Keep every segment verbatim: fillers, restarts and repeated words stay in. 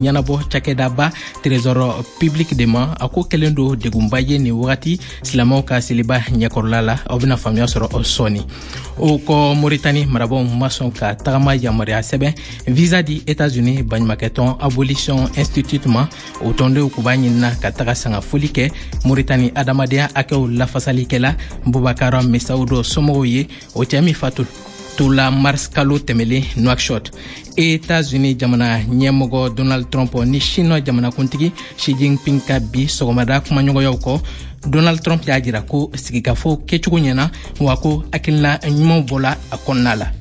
Ɲɛnabɔ cakɛdaba Trésor public de ma, a ko kɛlen don degunba ye nin wagati silamɛw ka seliba ɲɛkɔrɔla la. Aw bɛna faamuya sɔrɔ sɔɔni. O kɔ, Moritani marabaw ma sɔn ka tagama yamaruya sɛbɛn visa di Etats-Unis baɲumakɛtɔn Abolition Institute ma. O tɔndenw kun b'a ɲinina ka taga sangafoli kɛ Moritani adamadenya hakɛw lafasalikɛla Bubakar Mesawudo somɔgɔw ye, o cɛɛ min fatu tola mars kalo tɛmɛlen Nouakchott. États-Unis jamana ɲɛmɔgɔ Donald Trump ni Chine jamanakuntigi Xi Jinping ka bi sɔgɔmada kumaɲɔgɔnyaw kɔ, Donald Trump y'a jira ko sigikafɔ kɛcogo ɲɛna, wa ko hakilina ɲumanw bɔla a kɔnɔna la.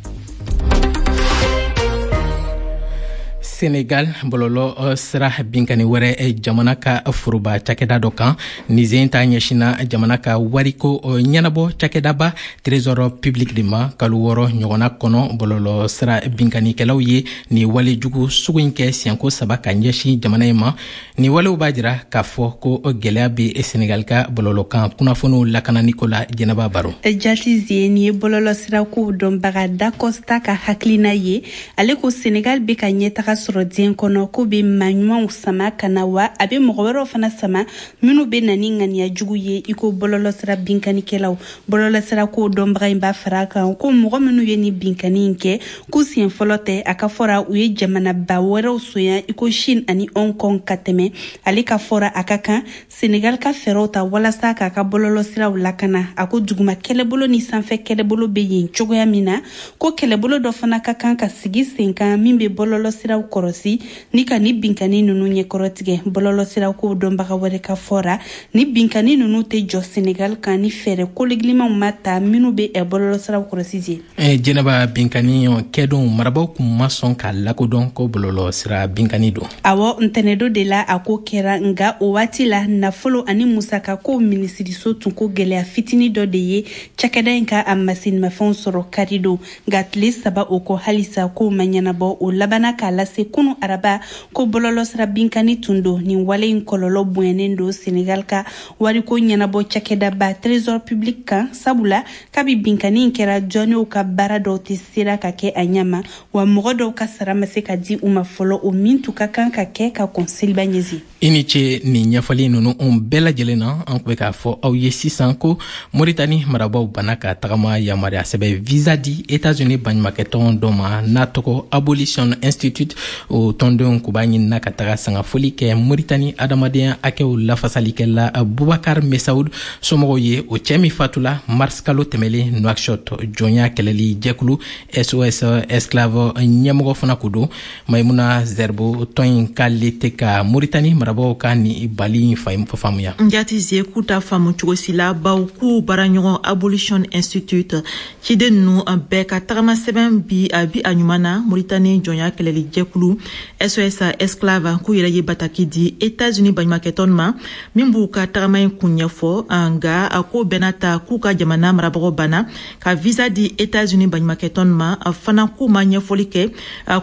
Senegal, bɔlɔlɔ sira binkani wɛrɛ jamana ka foroba cakɛda dɔ kan. Nin sen ta ɲɛsinna jamana ka wariko ɲɛnabɔ cakɛdaba Trésor public de ma. Kalo wɔɔrɔ ɲɔgɔnna kɔnɔ, bɔlɔlɔ sira binkanikɛlaw ye nin wale jugu sugu in kɛ siɲɛko saba ka ɲɛsin jamana in ma. Nin walew b'a jira k'a fɔ ko gɛlɛya bɛ Senegal ka bɔlɔlɔkan kunnafoniw lakananiko la. Jɛnɛba Baro. Jatize, nin ye bɔlɔlɔ sirakow dɔnbaga Dacosta ka hakilina ye. Ale ko Senegal bɛ ka ɲɛtaga sɔrɔ diɲɛ kɔnɔ, ko bɛ maa ɲumanw sama ka na, wa a bɛ mɔgɔ wɛrɛw fana sama minnu bɛ na ni ŋaniya jugu ye, i ko bɔlɔlɔsira binkanikɛlaw. Bɔlɔlɔsira ko dɔnbaga in b'a fara a kan ko mɔgɔ minnu ye ni binkani in kɛ, k'u siɲɛ fɔlɔ tɛ. A ka fɔra, u ye jamanaba wɛrɛw sonya, i ko Chine ani Hong Kong ka tɛmɛ. Ale ka fɔra, a ka kan Senegal ka fɛɛrɛw ta walasa k'a ka bɔlɔlɔsiraw lakana. A ko duguma kɛlɛbolo ni sanfɛ kɛlɛbolo bɛ yen cogoya min na, ko kɛlɛbolo dɔ fana ka kan ka sigi sen kan min bɛ bɔlɔlɔsiraw kɔrɔsi ni ka ni binkani ninnu ɲɛkɔrɔtigɛ. Bɔlɔlɔsiraw ko dɔnbaga wɛrɛ ka fɔra, ni binkani ninnu tɛ jɔ Senegal kan ni fɛɛrɛ kologilimanw ma ta minnu bɛ bɔlɔlɔsiraw kɔrɔsi je. Jɛnɛba, binkani kɛdon, marabaw kun ma sɔn k'a lakodɔn ko bɔlɔlɔsira binkani don. Awɔ, ntɛnɛdo de la a ko kɛra, nka o waati la nafolo ani musakako minisiriso tun ko gɛlɛya fitini dɔ de ye cakɛda in ka a masinimafɛnw sɔrɔ kari don. Nka tile saba o kɔ, halisa kow ma ɲɛnabɔ. O labanna k'a lase kunu araba ko bɔlɔlɔsira binkani tun don. Nin wale in kɔlɔlɔ bonyanen don Senegal ka wariko ɲɛnabɔ cakɛdaba Trésor public kan, sabula kabi binkani in kɛra, jɔnniw ka baara dɔw tɛ sera ka kɛ a ɲɛma, wa mɔgɔ dɔw ka sara ma se ka di u ma fɔlɔ, o min tun ka kan ka kɛ ka kɔn seliba ɲɛsin. I ni ce nin ɲɛfɔli ninnu bɛɛ lajɛlen na. An tun bɛ k'a fɔ aw ye sisan ko Moritani marabaw banna ka tagama yamaruya sɛbɛn visa di États-Unis baɲumakɛtɔn dɔ ma n'a tɔgɔ Abolition Institute. O tɔndenw kun b'a ɲinina ka taga sangafoli kɛ Moritani adamadenya hakɛw lafasalikɛla Bubakar Mesaud somɔgɔw ye, o cɛɛ min fatula mars kalo tɛmɛlen Nouakchott. Jɔnya kɛlɛli jɛkulu S O S Esclave ɲɛmɔgɔ fana ko don Maimuna Zerbo. Tɔn in k'ale tɛ ka Moritani marabaw ka ni bali in faamuya. Njati ze, k'u ta faamu cogo si la, baw k'u baaraɲɔgɔn Abolition Institute ciden ninnu bɛɛ ka tagama sɛbɛn bi a bi a ɲuman na. Moritani jɔnya kɛlɛli jɛkulu S O S Esclave k'u yɛrɛ ye bataki di États-Unis baɲumakɛtɔn ma min b'u ka tagama in kun ɲɛfɔ. Nka a ko bɛɛ n'a ta, k'u ka jamana marabagaw banna ka visa di États-Unis baɲumakɛtɔn ma fana, k'u ma ɲɛfɔli kɛ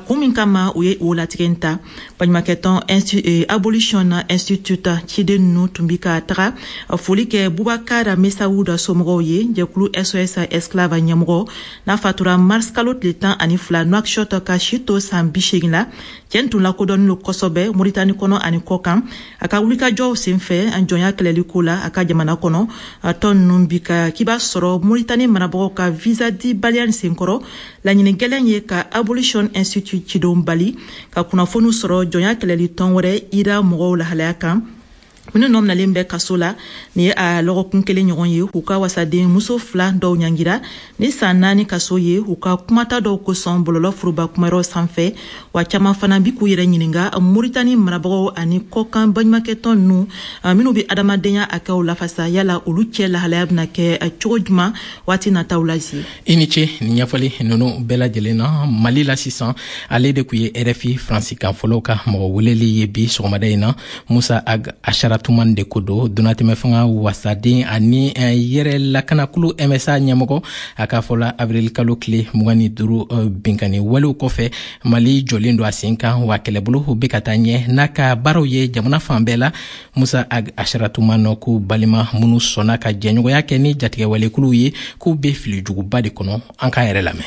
kun min kama u ye o latigɛ ta. Baɲumakɛtɔn Abolition Institute ciden ninnu tun bi ka taga foli kɛ Bubakar Mesawuda somɔgɔw ye. Jɛkulu S O S Esclave ɲɛmɔgɔ n'a fatura mars kalo tile tan ani fila Nouakchott ka si to san bi seegin la, cɛn tun lakodɔnnen lo kosɛbɛ Moritani kɔnɔ ani kɔkan a ka wulikajɔw senfɛ jɔnya kɛlɛli ko la a ka jamana kɔnɔ. Tɔn ninnu bi ka k'i b'a sɔrɔ Moritani marabagaw ka visa di baliya nin senkɔrɔ, laɲini gɛlɛn ye ka Abolition Institute cidenw bali ka kunnafoniw sɔrɔ jɔnya kɛlɛli tɔn wɛrɛ ira mɔgɔw lahalaya kan minnu nɔ minalen bɛ kaso la. Nin ye a lɔgɔkun kelen ɲɔgɔn ye, u ka wasaden muso fila dɔw ɲangira ni san naani kaso ye u ka kumata dɔw kosɔn bɔlɔlɔ foroba kumayɔrɔ sanfɛ. Wa caman fana bi k'u yɛrɛ ɲininga Moritani marabagaw ani kɔkan baɲumakɛtɔn ninnu minnu be adamadenya hakɛw lafasa, yala olu cɛ lahalaya bena kɛ cogo juman waati nataw la zi. I ni ce nin ɲɛfɔli ninnu bɛɛ lajɛlen na. Mali la sisan, ale de kun ye R F I faransikan fɔlɔw ka mɔgɔ weleli ye bi sɔgɔmada in na. Musa Ag Asharatuman de ko don, donatɛmɛ fanga wasaden ani yɛrɛ lakanakulu M S A ɲɛmɔgɔ. A k'a fɔla, avril kalo tile mugan ni duuru binkani walew kɔfɛ, Mali jɔlen don a sen kan, wa kɛlɛbolo bɛ ka taa ɲɛ n'a ka baaraw ye jamana fan bɛɛ la. Musa Ag Asharatuman ko balima minnu sɔnna ka jɛɲɔgɔnya kɛ ni jatigɛwalekuluw ye, k'u bɛ fili juguba de kɔnɔ. An k'a yɛrɛ lamɛn.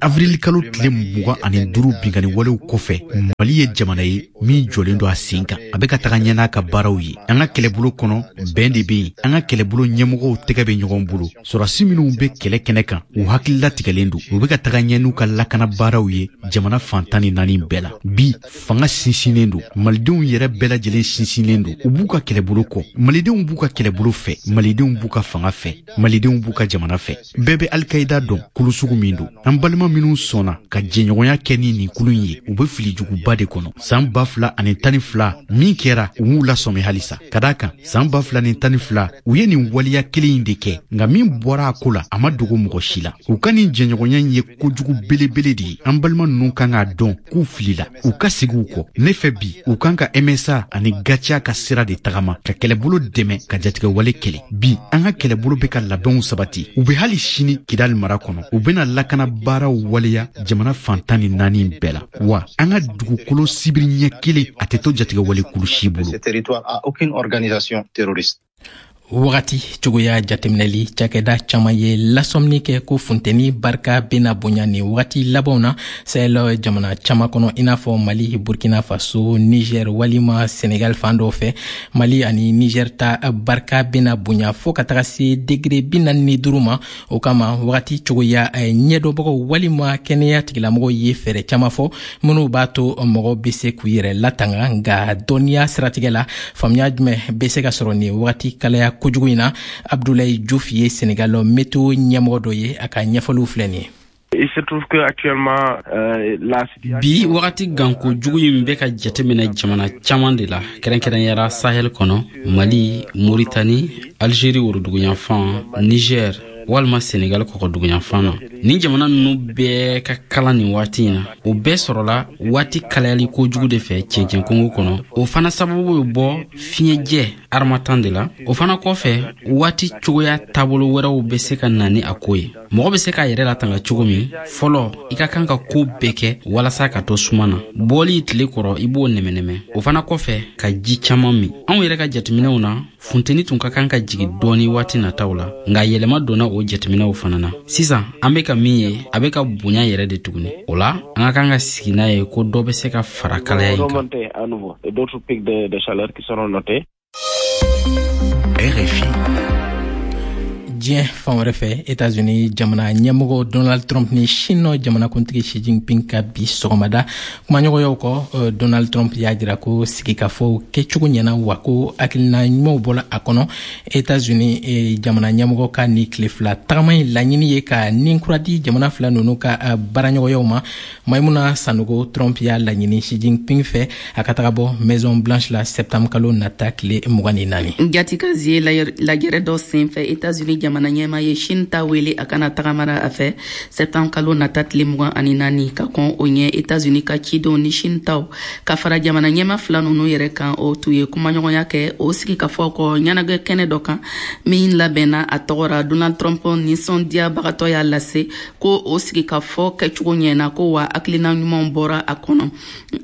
Avril kalo tile mugan ani duuru binkanni walew kɔfɛ, Mali ye jamana ye min jɔlen don a sen kan. A bɛ ka taga ɲɛ n'a ka baaraw ye. An ka kɛlɛbolo kɔnɔ, bɛn de bɛ yen. An ka kɛlɛbolo ɲɛmɔgɔw tɛgɛ bɛ ɲɔgɔn bolo. Sɔrɔdasi minnu bɛ kɛlɛ kɛnɛ kan, u hakili latigɛlen don. U bɛ ka taga ɲɛ n'u ka lakana baaraw ye jamana fan tan ni naani bɛɛ la. Bi, fanga sinsinnen don. Malidenw yɛrɛ bɛɛ lajɛlen sinsinnen don. U b'u ka kɛlɛbolo kɔ. Malidenw b'u ka kɛlɛbolo fɛ. Malidenw b'u ka fanga fɛ. Malidenw b'u ka jamana fɛ. Bɛɛ bɛ Al-Qaïda dɔn kulu sugu min don. An balima minnu sɔnna ka jɛɲɔgɔnya kɛ ni nin kulu in ye, u bɛ fili juguba de kɔnɔ. San ba fila ani tan ni fila min kɛra, u m'u lasɔmi halisa. Ka d'a kan, san ba fila ni tan ni fila u ye nin waleya kelen in de kɛ, nka min bɔra a ko la, a ma dogo mɔgɔ si la. U ka nin jɛɲɔgɔnya in ye kojugu belebele de ye. An balima ninnu kan k'a dɔn k'u filila, u ka segin u kɔ. Ne fɛ bi, u kan ka M S A ani GATIA ka sira de tagama, ka kɛlɛbolo dɛmɛ ka jatigɛwale kɛlɛ. Bi, an ka kɛlɛbolo bɛ ka labɛnw sabati. U bɛ hali sini Kidali mara kɔnɔ. U bɛna lakana baaraw waleya jamana fan tan ni naani bɛɛ la. Wa an ka dugukolo sibiri ɲɛ kelen a tɛ to jatigɛwale kulu si bolo. Wagati cogoya jateminɛli cakɛda caman ye lasɔmini kɛ ko funteni barika bena bonya ni wagati labanw na Sahel jamana caman kɔnɔ, i n'a fɔ Mali, Burkina Faso, Niger walima Senegal fan dɔw fɛ. Mali ani Niger ta barika bena bonya fɔɔ ka taga se degere bi naani ni duuru ma. O kama wagati cogoya ɲɛdɔnbagaw walima kɛnɛya tigilamɔgɔw ye fɛɛrɛ caman fɔ minnu b'a to mɔgɔ bɛ se k'u yɛrɛ latanga. Nka dɔnniya siratigɛ la, faamuya jumɛn bɛ se ka sɔrɔ nin wagati kalaya kojugu in na? Abdoulaye Diouf ye Senegal météo ɲɛmɔgɔ dɔ ye, a ka ɲɛfɔliw filɛ nin ye. Bi wagati ganko jugu in bɛ ka jateminɛ jamana caman de la, kɛrɛnkɛrɛnyara Sahel kɔnɔ, Mali, Mauritanie, Algérie woroduguyanfan, Niger walima Senegal kɔgɔduguyanfan na. Nin jamana ninnu bɛɛ ka kalan nin waati in na, o bɛɛ sɔrɔla waati kalayali kojugu de fɛ cɛncɛn kungo kɔnɔ. O fana sababu bɛ bɔ fiɲɛjɛ harmattan de la. O fana kɔfɛ, waati cogoya taabolo wɛrɛw bɛ se ka na ni a ko ye. Mɔgɔ bɛ se k'a yɛrɛ latanga cogo min, fɔlɔ i ka kan ka ko bɛɛ kɛ walasa ka to suma na. Bɔli tile kɔrɔ, i b'o nɛmɛnɛmɛ. O fana kɔfɛ, ka ji caman min. Anw yɛrɛ ka jateminɛw na, funteni tun ka kan ka jigin dɔɔni waati nataw la, nka yɛlɛma donna o jateminɛw fana na. Sisan an bɛ ka min ye, a bɛ ka bonya yɛrɛ de tuguni. O la, an ka kan ka sigi n'a ye ko dɔ bɛ se ka fara kalaya in kan. R F I. Diɲɛ fan wɛrɛ fɛ, États-Unis jamana ɲɛmɔgɔ Donald Trump ni Chine jamanakuntigi Xi Jinping ka bi sɔgɔmada kumaɲɔgɔnyaw kɔ, Donald Trump y'a jira ko sigikafɔw kɛcogo ɲɛna, wa ko hakilina ɲumanw bɔla a kɔnɔ. États-Unis jamana ɲɛmɔgɔ ka ni tile fila tagama in laɲini ye ka nin kura di jamana fila ninnu ka baaraɲɔgɔnyaw ma. Maimuna Sanogo, Trump y'a laɲini Xi Jinping fɛ a ka taga bɔ Maison Blanche la septembre kalo nata tile mugan ni naani. Jatikazi ye lajɛrɛ dɔ senfɛ États-Unis jamana ɲɛma ye Chine ta wele a kana tagamara a fɛ septembre kalo nata tile mugan ani naani. Ka kɔn o ɲɛ, États-Unis ka cidenw ni Chine taw ka fara jamana ɲɛma fila ninnu yɛrɛ kan, o tun ye kumaɲɔgɔnya kɛ o sigikafɔ kɔ ɲɛnajɛ kɛnɛ dɔ kan min labɛnna a tɔgɔ ra. Donald Trump nisɔndiyabagatɔ y'a lase ko o sigikafɔ kɛcogo ɲɛna, ko wa hakilina ɲumanw bɔra a kɔnɔ.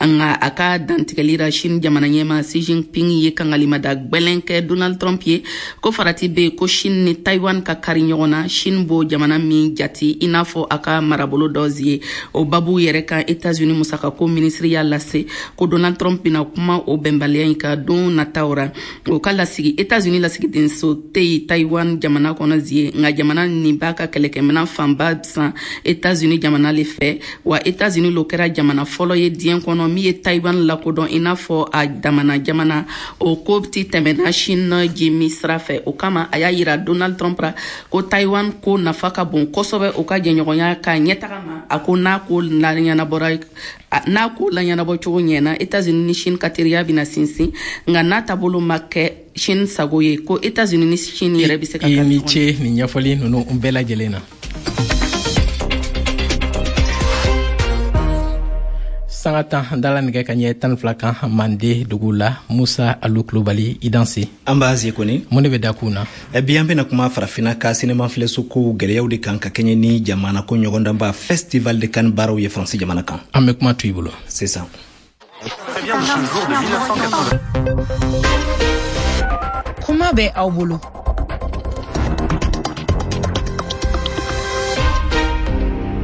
Nka a ka dantigɛli ra, Chine jamana ɲɛma Xi Jinping ye kangalimada gwɛlɛn kɛ Donald Trump ye ko farati bɛ yen ko Chine ni Taiwan ka kari ɲɔgɔn na. Chine b'o jamana min jati i n'a fɔ a ka marabolo dɔ ye. O babu yɛrɛ kan, États-Unis musakako minisiri y'a lase ko Donald Trump bɛna kuma o bɛnbaliya in kan don nataw ra. O ka lasigi États-Unis lasigidenso tɛ yen Taiwan jamana kɔnɔ zie, nka jamana nin b'a ka kɛlɛkɛminɛn fanba san États-Unis jamana le fɛ. Wa États-Unis lo kɛra jamana fɔlɔ ye diɲɛ kɔnɔ min ye Taiwan lakodɔn i n'a fɔ a damana jamana. O ko ti tɛmɛna Chine jimi sira fɛ. O kama a y'a yira Donald Trump ra ko Taiwan ko nafa ka bon kosɛbɛ o ka jɛɲɔgɔnya ka ɲɛtaga ma. A ko n'a ko laɲɛnabɔra n'a ko laɲɛnabɔ cogo ɲɛna, États-Unis ni Chine ka teriya bɛna sinsin, nka n'a taabolo ma kɛ Chine sago ye, ko États-Unis ni Chine yɛrɛ bɛ se ka kari ɲɔgɔn na. I ni ce nin ɲɛfɔli ninnu bɛɛ lajɛlen na. Sanga tan dala nɛgɛ ka ɲɛ tan fila kan Mande dugu la. Musa Alu Kulubali, i danse. An b'a ze kɔni. Mun de bɛ da kun na? Bi an bɛna kuma farafinna ka sinema filɛso kow gɛlɛyaw de kan ka kɛɲɛ ni jamana ko ɲɔgɔndanba Festival de Cannes baaraw ye Faransi jamana kan. An bɛ kuma to i bolo. Sisan. Kuma bɛ aw bolo.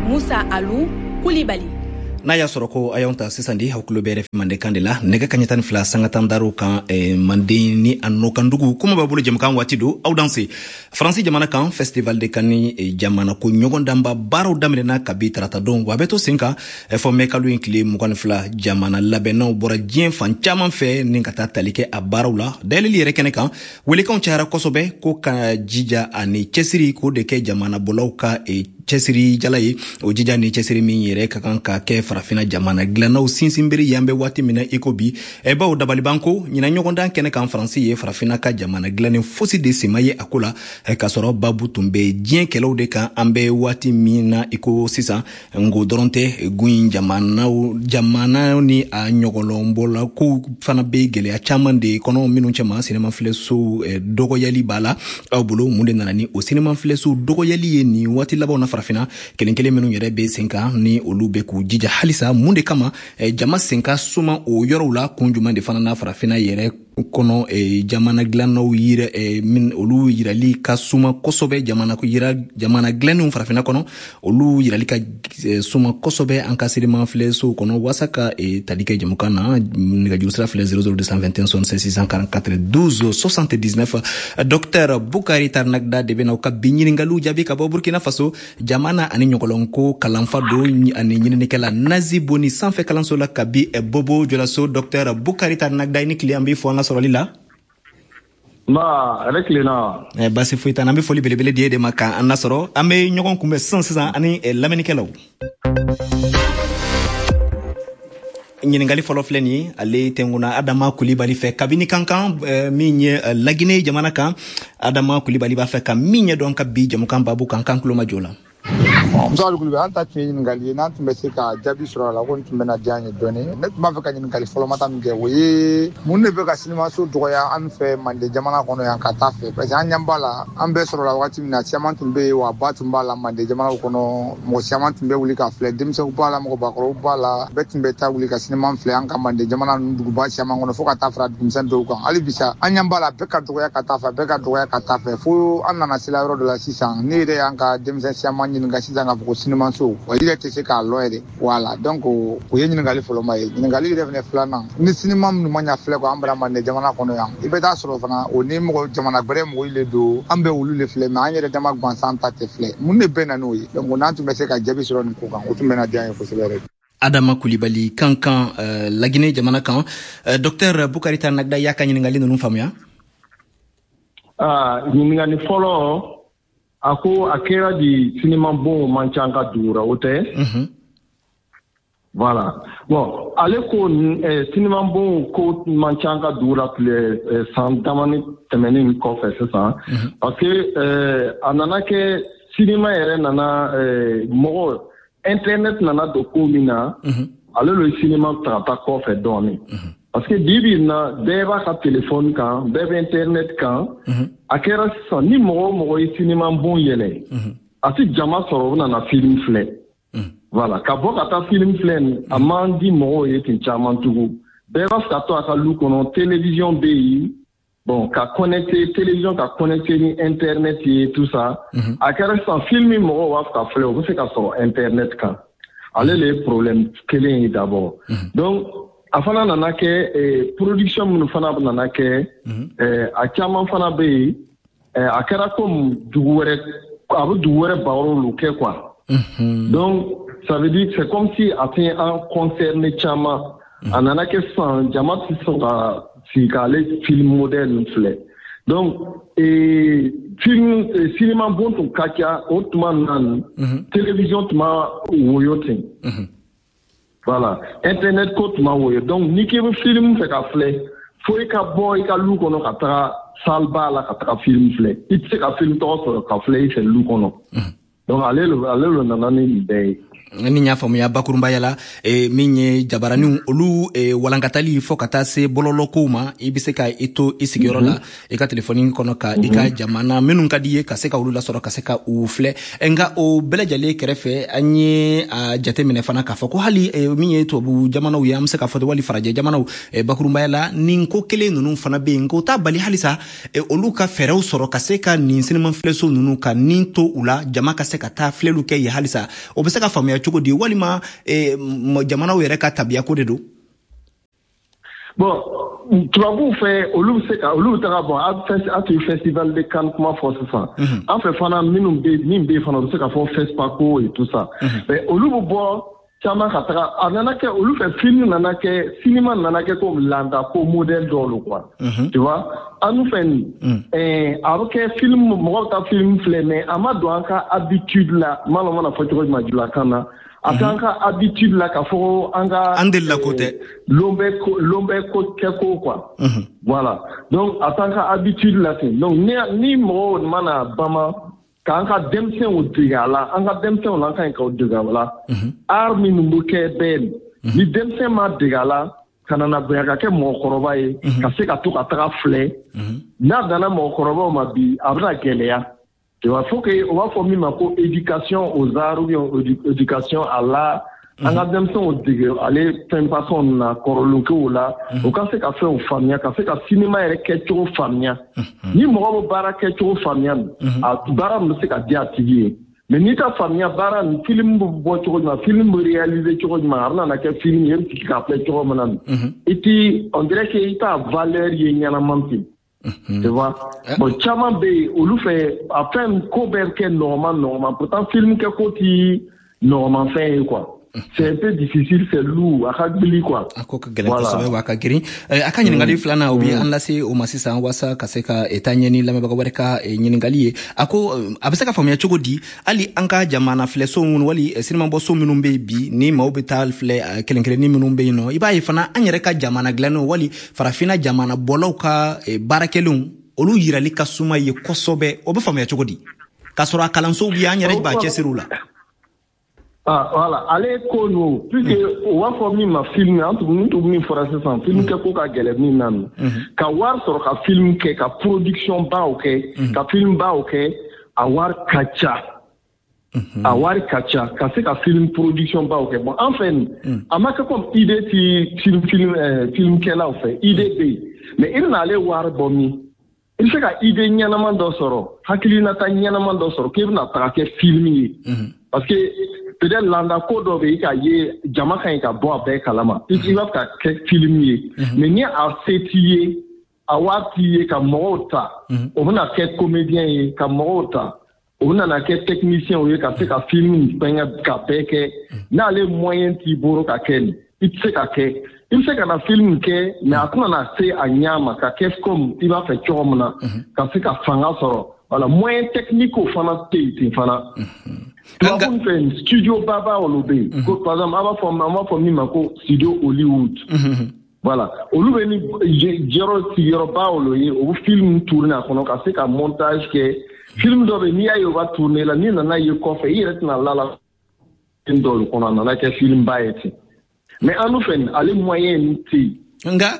Moussa Alou Koulibaly. N'a y'a sɔrɔ ko a y'anw ta sisan di, aw tulo bɛ R F I mandenkan de la, nɛgɛ kaɲɛ tan ni fila sanga tan daraw kan, eh, manden ni a nɔkandugu. Kuma b'a bolo, jɛmukan waati don. Aw danse. Faransi jamana kan, Festival de Cannes, eh, jamana ko ɲɔgɔndanba baaraw daminɛna kabi tarata don, wa a bɛ to sen kan eh, fɔ mɛ kalo in tile mugan ni fila. Jamana labɛnnaw bɔra diɲɛ fan caman fɛ ni ka taa tali kɛ a baaraw la. Dayɛlɛli yɛrɛ kɛnɛ kan, welekanw cayara kosɛbɛ ko ka jija ani cɛsiri k'o de kɛ jamana bɔlaw ka eh, cɛsiri jala ye. O jija ni cɛsiri min yɛrɛ ka kan ka kɛ farafina jamana dilannaw sinsinbere ye an bɛ waati min na i ko bi. Baw dabaliban ko ɲinan ɲɔgɔndan kɛnɛ kan, Faransi ye farafina ka jamana dilannen fosi de sema ye a ko la, k'a sɔrɔ babu tun bɛ diɲɛ kɛlɛw de kan an bɛ waati min na i ko sisan. Ngo dɔrɔn tɛ, gun jamanaw jamana ni a ɲɔgɔlɔnbɔla kow fana bɛ gɛlɛya caman de kɔnɔ, minnu cɛma sinema filɛsow dɔgɔyali b'a la. Aw bolo, mun de nana ni o sinema filɛsow dɔgɔyali ye nin waati labanw na farafina? Kelen kelen minnu yɛrɛ bɛ sen kan ni olu bɛ k'u jija halisa, mun de kama jama sen ka suma o yɔrɔw la? Kun jumɛn de fana na farafina yɛrɛ kɔnɔ jamana dilannaw yira min olu yirali ka suma kosɛbɛ, jamana yira jamana dilannenw farafina kɔnɔ, olu yirali ka suma kosɛbɛ an ka sinema filɛsow kɔnɔ? Waasa ka tali kɛ jamukan na, nɛgɛjuru sira filɛ: zéro zéro deux cent vingt et un soixante-seize six cent quarante-quatre douze soixante-dix-neuf. Docteur Bukari Tarnagda de bɛna u ka bi ɲiningaliw jaabi ka bɔ Burkina Faso. Jamana ani ɲɔgɔlɔnko kalanfa don ani ɲininikɛla Nazi Boni sanfɛ kalanso la kabi Bobo Jolaso. Docteur Bukari Tarnagda, i ni tile, an b'i fɔ an ka sɔrɔli la. Nba, a tilenna. Eh, basi foyi t'an na. An bɛ foli belebele di e de ma k'an lasɔrɔ. An bɛ ɲɔgɔn kunbɛn sisan sisan ani lamɛnnikɛlaw. Ɲininkali fɔlɔ filɛ nin ye, ale tɛnkuna Adama Kulibali fɛ kabini Kankan, min ye Lagine jamana kan. Adama Kulibali b'a fɛ ka min ɲɛdɔn ka bi jamukan babu kan, kan tulo majɔ la. Musa Kulubali, an ta tun ye ɲininkali ye, n'an tun bɛ se ka jaabi sɔrɔ a la, ko nin tun bɛna diya an ye dɔɔni. Ne tun b'a fɛ ka ɲininkali fɔlɔmata min kɛ, o ye mun de bɛ ka sinimaso dɔgɔya an fɛ Manden jamana kɔnɔ yan ka taa fɛ? Parce que an ɲɛ b'a la, an bɛɛ sɔrɔla wagati min na, caman tun bɛ yen, wa ba tun b'a la Manden jamanaw kɔnɔ. Mɔgɔ caman tun bɛ wuli ka filɛ, denmisɛnw b'a la, mɔgɔbakɔrɔw b'a la, bɛɛ tun bɛ taa wuli ka sinima filɛ an ka Manden jamana ninnu duguba caman kɔnɔ, fo ka taa fara dugumisɛn dɔw kan. Hali bisa, an ɲɛ b'a la, bɛɛ ka dɔgɔya ka taa fɛ, bɛɛ ka dɔgɔya ka taa fɛ, fo an nana se la yɔrɔ dɔ la sisan. Ne yɛrɛ y'an ka denmisɛn caman ɲininka sisan k'a fɔ ko sinimaso, wa i yɛrɛ tɛ se k'a lɔn yɛrɛ. Wala, donc o ye ɲininkali fɔlɔma ye. Ɲininkali yɛrɛ fɛnɛ filanan, ni sinima minnu ma ɲa filɛ ko an bara Manden jamana kɔnɔ yan, i bɛ taa sɔrɔ fana o ni mɔgɔ jamana gbɛrɛ mɔgɔw le don, an bɛ olu le filɛ, mais an yɛrɛ dama gansan ta tɛ filɛ. Mun de bɛ na n'o ye? Donc n'an tun bɛ se ka jaabi sɔrɔ nin ko kan, o tun bɛna diya an ye kosɛbɛ yɛrɛ. Adama Kulibali, Kankan, uh, Lagine jamana kan. uh, docteur Bukari Tarnagda y'a ka ɲininkali ninnu faamuya? Ah, ɲininkali fɔlɔ, a ko a kɛra di sinima bon man ca an ka dugu ra, o tɛ? Voilà, bon, ale ko eh, sinima bon ko man ca an ka dugu la tile eh, san damani tɛmɛnen kɔfɛ sisan, parce que eh, a nana kɛ sinima yɛrɛ nana eh, mɔgɔ internet nana don ko min na, ale le sinima ta ka taa kɔfɛ dɔɔnin, parce que bi bi in na, bɛɛ b'a ka téléphone kan, bɛɛ bɛ internet kan. A kɛra sisan, ni mɔgɔ o mɔgɔ ye sinima bon yɛlɛ, a ti jama sɔrɔ o bɛna na film filɛ. Voilà, ka bɔ ka taa film filɛ nin, a man di mɔgɔw ye ten caman tugun. Bɛɛ b'a fɛ ka to a ka lu kɔnɔ, télévision bɛ yen, bon, ka connecté télévision, ka connecté ni internet ye, tout ça. A kɛra sisan, film min mɔgɔw b'a fɛ ka filɛ, o bɛ se ka sɔrɔ internet kan. Ale le ye problème kelen ye d'abord. Donc a fana nana kɛ eh, production minnu fana nana kɛ, eh, a caman fana bɛ yen, eh, a kɛra comme dugu wɛrɛ, a bɛ dugu wɛrɛ barow kɛ quoi. Donc ça veut dire, c'est comme si a tɛ an concerné caman. A nana kɛ sisan, jama tɛ sɔn ka sigi k'ale film modèle ninnu filɛ. Donc eh, film eh, cinéma bon tun ka ca o tuma na nin, télévision tun ma woyo ten. Voilà, internet ko tun ma woyo. Donc n'i k'i bɛ film fɛ ka filɛ, fo i ka bɔ i ka lu kɔnɔ ka taga salle ba la ka taga film filɛ. I tɛ se ka film tɔgɔ sɔrɔ ka filɛ i fɛ lu kɔnɔ. Donc ale le ale le nana ni nin bɛɛ ye. Ni y'a faamuya bakurunbaya la, e, min ye jabaraniw olu e, walankatali fo ka taa se bɔlɔlɔkow ma, i bɛ se ka i to i sigiyɔrɔ la, i ka telefɔni kɔnɔ, ka i ka jamana minnu ka di ye, ka se ka olu lasɔrɔ, ka se ka u filɛ. Nka o bɛɛ lajɛlen kɛrɛfɛ, an ye a jateminɛ fana k'a fɔ ko hali e, min ye tubabu jamanaw ye, an bɛ se k'a fɔ wali farajɛ jamanaw, e, bakurunbaya la nin ko kelen ninnu fana bɛ yen. Nka o t'a bali halisa e, olu ka fɛɛrɛw sɔrɔ ka se ka nin sinima filɛso ninnu ka nin to u la, jama ka se ka taa filɛliw kɛ yen halisa. O bɛ se ka faamuya cogo di, walima eh, jamanaw yɛrɛ ka tabiya ko de don? Bon, tubabuw fɛ, olu bɛ se ka olu bɛ taga bɔn a tun ye Festival de Cannes kuma fɔ sisan. An fɛ fana, minnu bɛ min bɛ yen fana, u bɛ se ka fɔ FESPACO et tout ça. Mais olu bɛ bɔ caman ka taga. A nana kɛ olu fɛ, film nana kɛ, cinéma nana kɛ comme landa ko modèle dɔw lo quoi, tu vois. An nu fɛ nin, a bɛ kɛ film, mɔgɔw bɛ taa film filɛ, mais a ma don an ka habitude la. N m'a lɔn n mana fɔ cogo jumɛn julakan na, a t'an ka habitude la k'a fɔ an ka An delila ko tɛ. Lon bɛ ko lon bɛ ko kɛ ko quoi, voilà. Donc a t'an ka habitude la ten. Donc ni ni mɔgɔw mana bama k'an ka denmisɛnw dege a la, an ka denmisɛnw la, an ka ɲi k'o dege a la. Art minnu bɛ kɛ bɛɛ ni denmisɛn ma dege a la, ka nana bonya ka kɛ mɔgɔkɔrɔba ye, ka se ka to ka taga filɛ, n'a danna mɔgɔkɔrɔbaw ma bi, a bɛna gɛlɛya. Tu vois, faut que o b'a fɔ min ma ko éducation aux arts ou bien éducation à l'art, an ka denmisɛnw dege ale fɛn façon na kɔrɔlenkow la, u ka se ka fɛnw faamuya, ka se ka cinéma yɛrɛ kɛcogo faamuya. Ni mɔgɔ bɛ baara kɛcogo faamuya, a baara min bɛ se ka di a tigi ye. Mais n'i ta faamuya baara nin, film bɛ bɔ cogo jumɛn, film bɛ réaliser cogo jumɛn, a bɛna na kɛ film ye, e bɛ sigi k'a filɛ cogo min na, i ti, on dirait que i t'a valeur ye ɲɛnama ten, tu vois. Bon, caman bɛ yen, olu fɛ, a fɛn ko bɛɛ kɛ nɔgɔman nɔgɔman. Pourtant film kɛ ko ti nɔgɔman fɛn ye quoi, c'est un peu difficile, c'est lourd, a ka gbili quoi. A ko ka gɛlɛn kosɛbɛ wa a ka girin. A ka ɲininkali filanan, o bɛ an lase o ma sisan waasa ka se ka taa ɲɛ ni lamɛnbaga wɛrɛ ka ɲininkali ye. A ko a bɛ se ka faamuya cogo di, hali an ka jamana filɛso minnu wali sinimabɔso minnu bɛ yen bi, ni maaw bɛ taa filɛ kelen kelennin minnu bɛ yen nɔ, i b'a ye fana an yɛrɛ ka jamana dilannenw wali farafinna jamana bɔlaw ka baarakɛlenw, olu yirali ka suma ye kosɛbɛ. O bɛ faamuya cogo di k'a sɔrɔ a kalansow bɛ yen, an yɛrɛ b'a cɛsiri u la? Ah, voilà, ale ko no, puisque o b'a fɔ min ma film, an tun tun min fɔra sisan, film kɛ ko ka gɛlɛn min na, ka wari sɔrɔ ka film kɛ, ka production baw kɛ, ka film baw kɛ, a wari ka ca. A wari ka ca ka se ka film production baw kɛ. Bon, an fɛ nin, a ma kɛ comme idée ti film film film kɛlaw fɛ, idée bɛ yen, mais i bɛna ale wari bɔ min? I bɛ se ka idée ɲɛnama dɔ sɔrɔ, hakilinata ɲɛnama dɔ sɔrɔ k'e bɛna taga kɛ film ye, parce que peut-être landa ko dɔ bɛ yen ka ye, jama ka ɲi ka bɔ a bɛɛ kalama, i b'a fɛ ka kɛ film ye, mais ni a se t'i ye, a wari t'i ye ka mɔgɔw ta, o bɛna kɛ comédien ye, ka mɔgɔw ta, o bɛna na kɛ technicien ye, ka se ka film fɛngɛ ka bɛɛ kɛ. N'ale moyen t'i bolo ka kɛ nin, i tɛ se ka kɛ. I bɛ se ka na film kɛ, mais a tɛna na se a ɲɛ ma ka kɛ comme i b'a fɛ cogo min na, ka se ka fanga sɔrɔ. Voilà, moyen technique fana tɛ yen ten fana. Tubabu fɛ, studio baba olu bɛ yen ko, par exemple, an b'a fɔ an b'a fɔ min ma ko studio Hollywood. Voilà, olu bɛ ni yɔrɔ sigiyɔrɔba olu ye, o bɛ film tourner a kɔnɔ ka se ka montage kɛ. Film dɔ bɛ yen, n'i y'a ye o b'a tourner la, n'i nana ye kɔfɛ, i yɛrɛ tɛna la la film dɔw kɔnɔ, a nana kɛ film ba ye ten. Mais an dun fɛ nin, ale moyen tɛ yen. Nka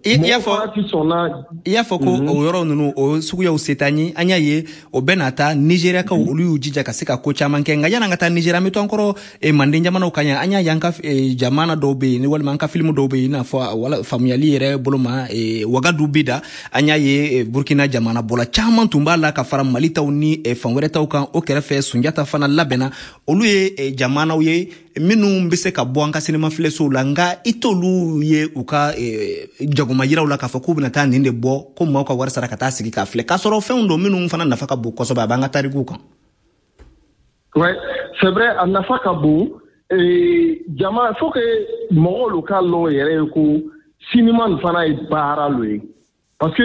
i y'a fɔ i y'a fɔ ko o yɔrɔ ninnu, o suguyaw se t'an ye. An y'a ye o bɛɛ n'a ta, Nizeriyakaw olu y'u jija ka se ka ko caman kɛ. Nka yan'an ka taa Nizeriya, an bɛ to an kɔrɔ manden jamanaw kan yan. An y'a ye an ka jamana dɔw bɛ yen, walima an ka filimu dɔw bɛ yen, i n'a fɔ wala faamuyali yɛrɛ bolo ma, Wagadu bi da. An y'a ye Burukina jamana bɔla caman tun b'a la ka fara Mali taw ni fan wɛrɛ taw kan. O kɛrɛfɛ, Sunjata fana labɛnna. Olu ye jamanaw ye minnu bɛ se ka bɔ an ka sinima filɛsow la, nka i t'olu ye u ka jagoma yiraw la k'a fɔ k'u bɛna taa nin de bɔ ko maaw ka wari sara ka taa sigi k'a filɛ, k'a sɔrɔ fɛnw don minnu fana nafa ka bon kosɛbɛ, a b'an ka tarikuw kan. Ouais, c'est vrai, a nafa ka bon. Jama, faut que mɔgɔw k'a lɔn yɛrɛ ye ko sinima nin fana ye baara lo ye, parce que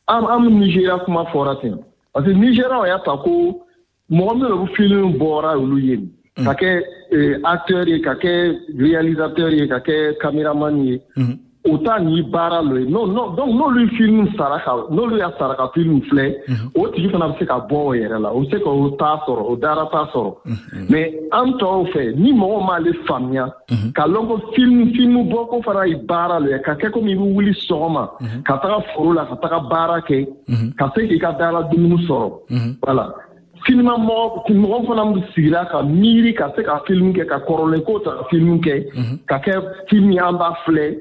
an an Nizeriya kuma fɔra ten, parce que Nizeriya y'a ta ko mɔgɔ minnu bɛ film bɔra olu ye, ka kɛ acteur ye, ka kɛ réalisateur ye, ka kɛ caméraman ye. O ta ni baara lo ye. Non non, donc n'olu film sara ka, n'olu y'a sara ka film filɛ, o tigi fana bɛ se ka bɔ o yɛrɛ la, o bɛ se k'o ta sɔrɔ, o dara ta sɔrɔ. Mais an tɔw fɛ, ni mɔgɔ m'ale faamuya ka lɔn ko film film bɔ ko fana ye baara lo ye, ka kɛ komi i bɛ wuli sɔgɔma ka taga foro la, ka taga baara kɛ, ka se k'i ka dara dumuni sɔrɔ. Voilà, sinima mɔgɔ mɔgɔ fana bɛ sigira ka miiri ka se ka film kɛ, ka kɔrɔlen ko ta ka film kɛ, ka kɛ film ye an b'a filɛ,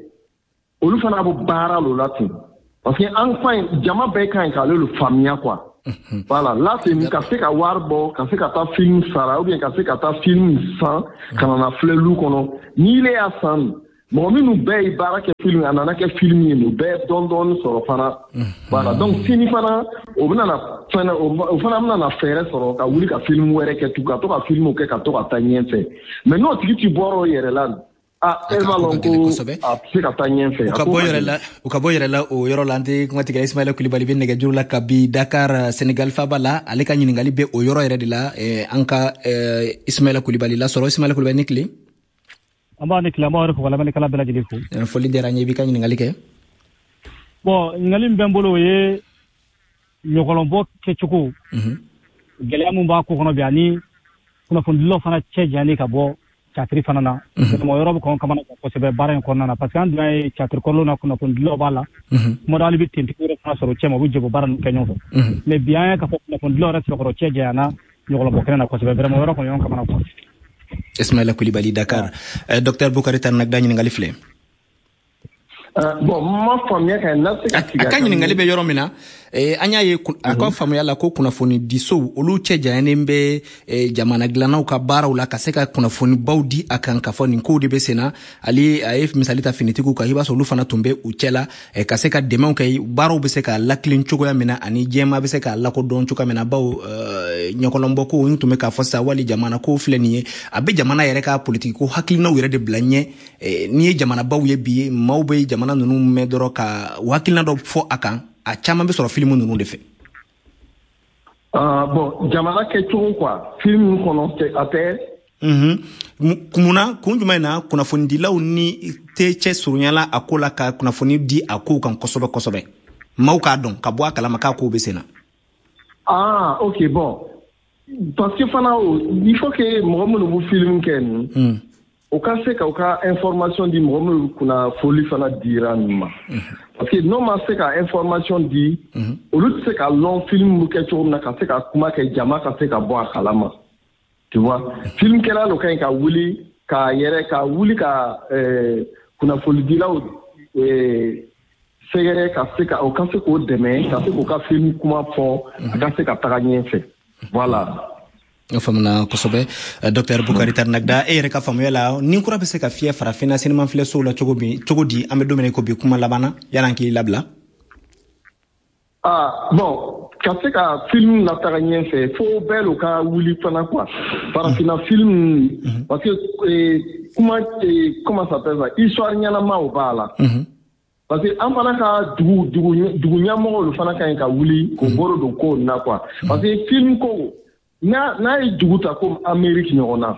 olu fana bɛ baara lo la ten, parce que an ka ɲi, jama bɛɛ ka ɲi k'ale le faamuya quoi. Voilà, là c'est ka se ka wari bɔ, ka se ka taa film sara, ou bien ka se ka taa film san ka na na filɛ lu kɔnɔ. N'i le y'a san, mɔgɔ minnu bɛɛ ye baara kɛ film, a nana kɛ film ye, u bɛɛ dɔɔni dɔɔni sɔrɔ fana. Voilà, donc sini fana o bɛna na fɛnɛ, o fana bɛna na fɛɛrɛ sɔrɔ ka wuli ka film wɛrɛ kɛ tugun, ka to ka film kɛ, ka to ka taa ɲɛfɛ. Mais n'o tigi ti bɔra o yɛrɛ la, ah, e b'a lɔn ko a bɛ se ka taa ɲɛfɛ. U ka bɔ yɛrɛ la, u ka bɔ yɛrɛ la o yɔrɔ la. An tɛ kuma tigɛ. Ismaila Kulibali bɛ nɛgɛjuru la kabi Dakar, Senegal faba la. Ale ka ɲininkali bɛ o yɔrɔ yɛrɛ de la. An ka Ismaila Kulibali lasɔrɔ. Ismaila Kulibali, ni tile. An b'a ni tile, an b'aw yɛrɛ fo ka lamɛnnikɛla bɛɛ lajɛlen fo. Foli diyara n ye, i b'i ka ɲininkali kɛ. Bon, ɲininkali min bɛ n bolo, o ye ɲɔgɔlɔnbɔ kɛcogo gɛlɛya min b'a ko kɔnɔ bi, ani kunnafonidilaw fana cɛ janyani ka bɔ catiri fana na. Mɔgɔ yɔrɔ bɛ kɔn kamana kosɛbɛ baara in kɔnɔna na, parce que an dun ye catiri kɔrɔlenw na, kunnafonidilaw b'a la, kuma dɔ hali bɛ tentigi yɛrɛ fana sɔrɔ cɛ ma, u bɛ jɛ baara ninnu kɛ ɲɔgɔn fɛ. Mais bi an ye k'a fɔ kunnafonidilaw yɛrɛ sɛbɛkɔrɔ cɛ janyana ɲɔgɔlɔnbɔ kɛnɛ na kosɛbɛ, vraiment yɔrɔ kɔni ɲɔgɔn kamana kɔ. Ismaila Kulibali, Dakar. Docteur Bukari Tarnagda, ɲininkali filɛ. Bon, ma faamuya ka na se ka a ka ɲininkali bɛ yɔrɔ min na, an y'a ye a ka faamuya la ko kunnafonidisow olu cɛ janyanen bɛ jamana dilannaw ka baaraw la, ka se ka kunnafonibaw di a kan, k'a fɔ nin kow de bɛ sen na. Ale a ye misali ta finitigiw kan, i b'a sɔrɔ olu fana tun bɛ u cɛ la, ka se ka dɛmɛw kɛ, baaraw bɛ se ka lakilen cogoya min na, ani jɛma bɛ se k'a lakodɔn cogoya min na. Bawo ɲɔgɔlɔnbɔ ko n tun bɛ k'a fɔ sisan, wali jamana ko filɛ nin ye, a bɛ jamana yɛrɛ ka politiki ko hakilinaw yɛrɛ de bila ɲɛ. N'i ye jamanabaw ye bi, maaw bɛ jamana ninnu mɛn dɔrɔn ka u hakilina dɔ fɔ a kan, a caman bɛ sɔrɔ filimu ninnu de fɛ. Ah bon, jamana kɛcogo quoi, film kɔnɔ a tɛ. Munna, kun jumɛn na kunnafonidilaw ni tɛ cɛ surunyala a ko la ka kunnafoni di a kow kan kosɛbɛ kosɛbɛ, maaw k'a dɔn ka bɔ a kalama k'a kow bɛ sen na? Ah ok, bon, parce que fana il faut que mɔgɔ minnu bɛ film kɛ nin, o ka se ka u ka information di mɔgɔ minnu kunnafoni fana dira ninnu ma. Parce que n'o ma se ka information di, olu tɛ se ka lɔn film bɛ kɛ cogo min na, ka se ka kuma kɛ, jama ka se ka bɔ a kalama. Tu vois, film kɛla lo ka ɲi ka wuli ka yɛrɛ ka wuli ka kunnafonidilaw sɛgɛrɛ, ka se ka o ka se k'o dɛmɛ, ka se k'o ka film kuma fɔ, a ka se ka taga ɲɛfɛ. Voilà. O faamuna kosɛbɛ. Docteur Bukari Tarnagda, e yɛrɛ ka faamuya la, ni kura bɛ se ka fiyɛ farafinna sinima filɛsow la cogo min, cogo di an bɛ don min na i ko bi, kuma laban na yan'an k'i labila? Ah bon, ka se ka film lataga ɲɛfɛ, fo bɛɛ lo ka wuli fana quoi, farafinna film, parce que kuma, comment ça s'appelle ça, histoire ɲɛnamaw b'a la. Parce que an fana ka dugu dugu dugu ɲɛmɔgɔw fana ka ɲi ka wuli k'o bolo don ko na quoi, parce que film ko n'a n'a ye dugu ta comme Amérique ɲɔgɔn na,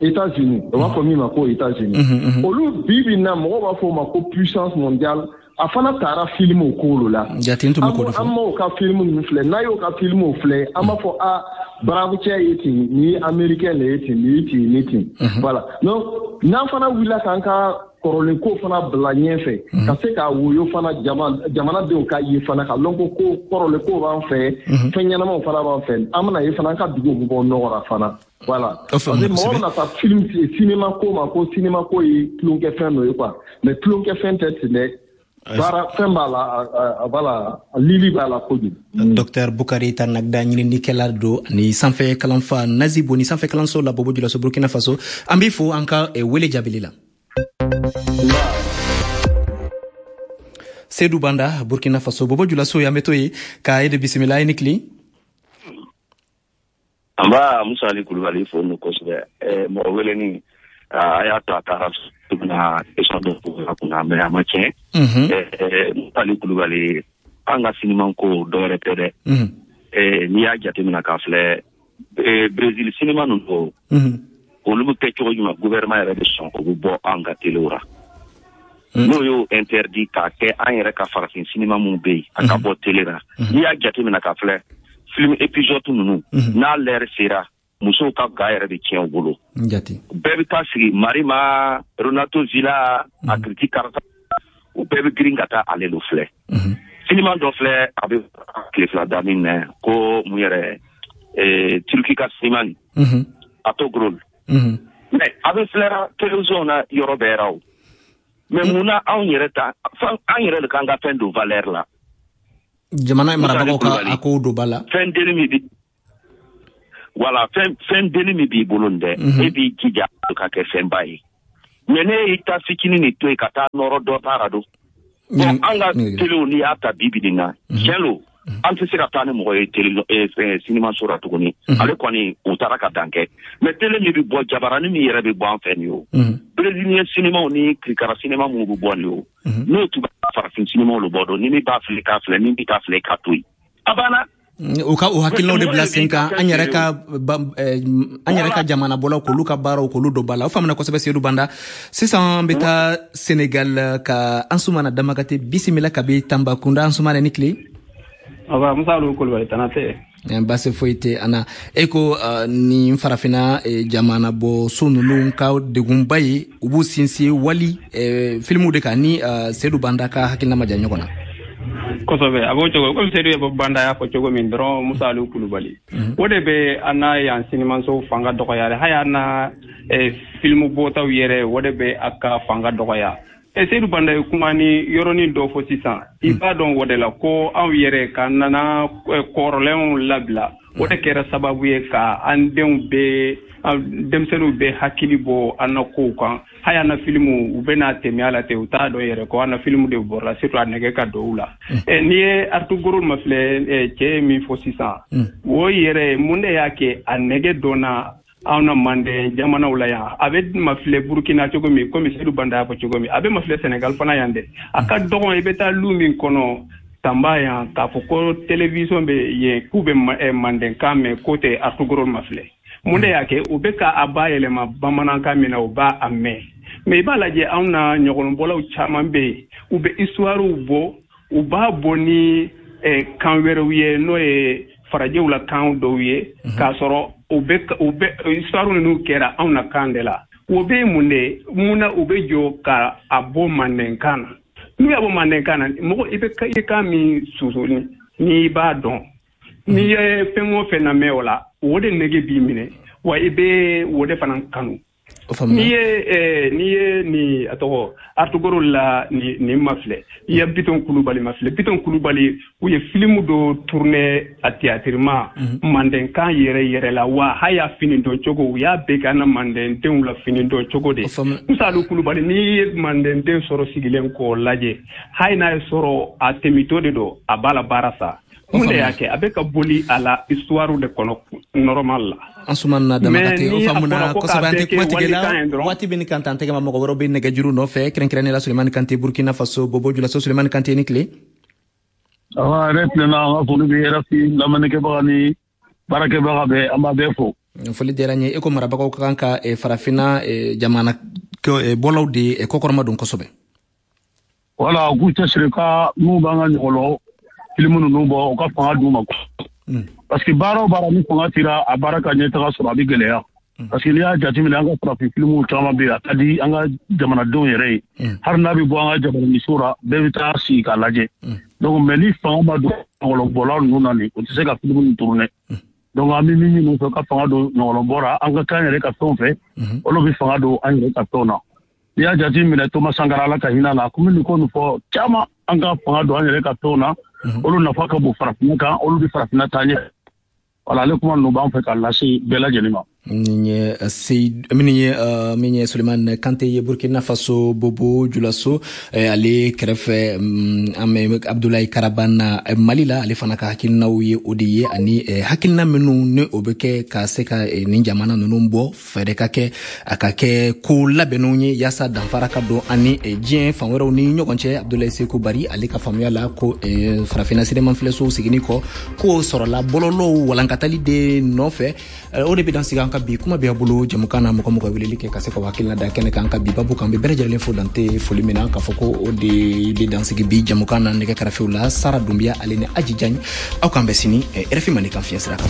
États-Unis, o b'a fɔ min ma ko États-Unis, olu bi bi in na mɔgɔw b'a fɔ o ma ko puissance mondiale, a fana taara film o ko la. Jate n tun bɛ k'o de fɔ. An m'o ka film ninnu filɛ, n'a y'o ka film filɛ, an b'a fɔ a brave cɛ ye ten, nin ye américain de ye ten, nin ye ten, nin ten. Voilà, donc n'an fana wulila k'an ka kɔrɔlen ko fana bila ɲɛfɛ, ka se ka woyo fana jamanadenw ka ye fana, ka lɔn ko ko kɔrɔlen ko b'an fɛ, fɛn ɲɛnamaw fana b'an fɛ, an bɛna ye fana an ka duguw bɛ bɔ nɔgɔ la fana. Voilà, parce que mɔgɔ bɛna taa film cinéma ko ma ko cinéma ko ye tulonkɛfɛn dɔ ye quoi, mais tulonkɛfɛn tɛ ten dɛ. Baara fɛn b'a la, a b'a la, lili b'a la kojugu. Docteur Bukari Tarnagda, ɲininikɛla don ani sanfɛ kalanfa Nazibo ni sanfɛ kalanso la Bobo Julaso, Burkina Faso. An b'i fo an ka wele jaabili la. Seydou Banda, Burkina Faso, Bobo Julaso, y'an bɛ to yen ka e de bisimila. I ni tile. An b'a Musa Ali Kulubali fo nu kosɛbɛ. Mɔgɔ weleni a y'a to a taara bɛna question dɔ poser a kunna, mais a ma tiɲɛ. Musa Ali Kulubali, an ka sinima ko dɔ wɛrɛ tɛ dɛ. N'i y'a jateminɛ k'a filɛ, Brésil sinima ninnu, olu bɛ kɛ cogo jumɛn, gouvernement yɛrɛ bɛ sɔn o bɛ bɔ an ka telew la. N'o y'o interdit k'a kɛ an yɛrɛ ka farafin sinima mun bɛ yen, a ka bɔ télé la. N'i y'a jateminɛ ka filɛ, film épisode ninnu, n'a l'heure sera, musow ka ga yɛrɛ bɛ tiɲɛ u bolo. Bɛɛ bɛ taa sigi Marima, Renato Zila, a Kiriti Karata, u bɛɛ bɛ girin ka taa ale lo filɛ. Sinima dɔ filɛ, a bɛ tile fila daminɛ ko mun yɛrɛ, Turki ka sinima nin, Atogrol. Mais a bɛ filɛra télévision na yɔrɔ bɛɛ ra o. Mais mun na anw yɛrɛ ta, an yɛrɛ de k'an ka fɛn don valeur la. Jamana marabagaw ka a kow don ba la. Fɛn denni min bi, voilà, fɛn fɛn denni min b'i bolo nin dɛ, e b'i jija ka kɛ fɛnba ye. Mais ne y'i ta fitinin nin to yen ka taa nɔrɔ dɔ ta ra don. Bon, an ka téléw n'i y'a ta bi bi nin na, tiɲɛ lo, an tɛ se ka taa ni mɔgɔ ye télé sinimaso la tuguni. Ale kɔni u taara ka dan kɛ. Mais télé min bɛ bɔ, jabaranin min yɛrɛ bɛ bɔ an fɛ nin o, brésilien sinimaw ni kirikara sinima minnu bɛ bɔ nin o, n'o tun bɛ farafin sinimaw de bɔ don, ni min b'a filɛ k'a filɛ, ni min t'a filɛ k'a to yen. A banna. U ka o hakilinaw de bila sen kan, an yɛrɛ ka an yɛrɛ ka jamana bɔlaw k'olu ka baaraw k'olu don ba la. O faamuna kosɛbɛ, Seydou Banda. Sisan an bɛ taa Senegal ka Ansumana Damakate bisimila kabi Tambacounda. Ansumana, ni tile. Aba Musa Aliou Kulubali, tana tɛ. Baasi foyi tɛ an na. E ko nin farafinna jamana bɔ so ninnu ka degunba ye, u b'u sinsin wali filimuw de kan, ni Seydou Banda ka hakilina ma ja ɲɔgɔn na. Kosɛbɛ, a b'o cogo komi Seydou Banda y'a fɔ cogo min dɔrɔn, Musa Aliou Kulubali, o de bɛ an na yan sinimanso fanga dɔgɔya, hali an na filimu bɔtaw yɛrɛ, o de bɛ a ka fanga dɔgɔya. Seydou Banda ye kuma ni yɔrɔnin dɔ fɔ sisan, i b'a dɔn o de la ko anw yɛrɛ ka nana kɔrɔlenw labila, o de kɛra sababu ye ka an denw bɛ, denmisɛnninw bɛ hakili bɔ an na kow kan. Hali an na filimu, u bɛna tɛmɛ a la ten, u t'a dɔn yɛrɛ ko an na filimu de bɔra, surtout a nɛgɛ ka don u la. N'i ye Artugoro mafilɛ, cɛ ye min fɔ sisan, o yɛrɛ mun de y'a kɛ a nɛgɛ dɔnna anw na Manden jamanaw la yan? A bɛ mafilɛ Burukina cogo min, komi Seydou Banda y'a fɔ cogo min, a bɛ mafilɛ Senegal fana yan dɛ. A ka dɔgɔn i bɛ taa lu min kɔnɔ Tamba yan, k'a fɔ ko télévision bɛ yen k'u bɛ Mandenkan mɛn, k'o tɛ Artugoro mafilɛ. Mun de y'a kɛ? U bɛ ka a bayɛlɛma bamanankan min na, u b'a a mɛn. Mais i b'a lajɛ, anw na ɲɔgɔnbɔlaw caman bɛ yen, u bɛ histoirew bɔ, u b'a bɔ ni kan wɛrɛw ye, n'o ye farajɛw la kan dɔw ye, k'a sɔrɔ u bɛ u bɛ histoire ninnu kɛra anw na kan de la. O bɛ mun de mun na u bɛ jɔ ka a bɔ Mandenkan na? N'u y'a bɔ Mandenkan na, mɔgɔ i bɛ i kan min susu n'i b'a dɔn, n'i ye fɛn o fɛn lamɛn o la, o de nege b'i minɛ, wa i bɛ o de fana kanu. N'i ye n'i ye nin a tɔgɔ Artugoro la nin nin mafilɛ, i ye Bitɔn Kulubali mafilɛ. Bitɔn Kulubali, u ye filimu dɔ tourner a théâtre ma Mandenkan yɛrɛ yɛrɛ la, wa hali y'a fini dɔn cogo, u y'a bɛɛ kɛ an na Mandendenw la fini dɔn cogo de. Musa Aliou Kulubali, n'i ye Mandenden sɔrɔ sigilen k'o lajɛ, hali n'a ye sɔrɔ a tɛmɛtɔ de don, a b'a la baara sa. Mun de y'a kɛ? A bɛ ka boli a la histoire de kɔnɔ normal la. Ansumana Damakate, o faamuna kosɛbɛ. An tɛ kuma tigɛ la, waati bɛ ni kan tan tɛgɛ ma, mɔgɔ wɛrɛw bɛ nɛgɛjuru nɔfɛ, kɛrɛnkɛrɛnnenya la Sulemani Kante, Burkina Faso, Bobo Julaso. Sulemani Kante, ni tile. Awa, yɛrɛ tilenna, an ka foli bɛ R F I lamɛnnikɛbaga ni baarakɛbaga bɛɛ, an b'a bɛɛ fo. Foli diyara n ye. E ko marabagaw ka kan ka farafinna jamana bɔlaw de kɔkɔrɔma don kosɛbɛ. Wala, u k'u cɛsiri ka n'u b'an ka ɲɔgɔlɔ filimu ninnu bɔ, u ka fanga d'u ma. Parce que baara o baara ni fanga tira a baara ka ɲɛtaga sɔrɔ, a bɛ gɛlɛya. Parce que n'i y'a jateminɛ, an ka farafin filimuw caman bɛ yen, a ka di an ka jamanadenw yɛrɛ ye. Hali n'a bɛ bɔ an ka jamananinso la, bɛɛ bɛ taa sigi k'a lajɛ. Donc mais ni fanga ma don ɲɔgɔlɔbɔla ninnu na nin, o tɛ se ka filimu ninnu tourner. Donc an bɛ min ɲini u fɛ, ka fanga don ɲɔgɔlɔbɔ la, an ka k'an yɛrɛ ka fɛnw fɛ, olu bɛ fanga don an yɛrɛ ka fɛnw na. N'i y'a jateminɛ, Thomas Sankara, Ala ka hinɛ la, komi nin ko nin fɔ caman, an ka fanga don an yɛrɛ ka fɛnw na, olu nafa ka bon farafinna kan, olu bɛ farafinna taa ɲɛ. Wala, ale kuma ninnu b'an fɛ k'a lase bɛɛ lajɛlen ma. Nin ye Seydou, min ye min ye Sulemani Kante ye, Burkina Faso, Bobo Julaso. Ale kɛrɛfɛ, an bɛ Abdoulaye Karabana Mali la, ale fana ka hakilinaw ye o de ye, ani hakilina minnu ni o bɛ kɛ ka se ka nin jamana ninnu bɔ, fɛɛrɛ ka kɛ a ka kɛ ko labɛnnenw ye yaasa danfara ka don ani diɲɛ fan wɛrɛw ni ɲɔgɔn cɛ. Abdoulaye Sekou Bari, ale ka faamuya la, ko farafinna sinema filɛsow seginni kɔ, k'o sɔrɔla bɔlɔlɔw walankatali de nɔfɛ. O de bɛ dan sigi an ka ka bi kuma bɛ a bolo jamukan na, mɔgɔ mɔgɔ weleli kɛ ka se ka hakilina da kɛnɛ kan ka bi babu kan. Bɛ bɛɛ lajɛlen fo dante foli min na, k'a fɔ ko o de bɛ dansigi bi jamukan na. Nɛgɛ karafew la, Sara Dunbiya ale ni Aji Jagne. Aw k'an bɛn sini R F I Mandenkan fiɲɛ sira kan.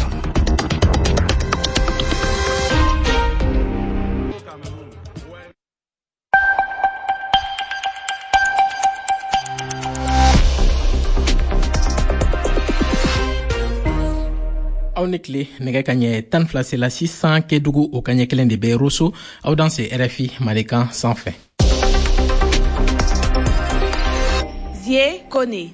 Aw ni tile. Nɛgɛ ka ɲɛ tan fila sela sisan Kedugu, o ka ɲɛ kelen de bɛ Roso. Aw dan se R F I Mandenkan sanfɛ. Zie Kone.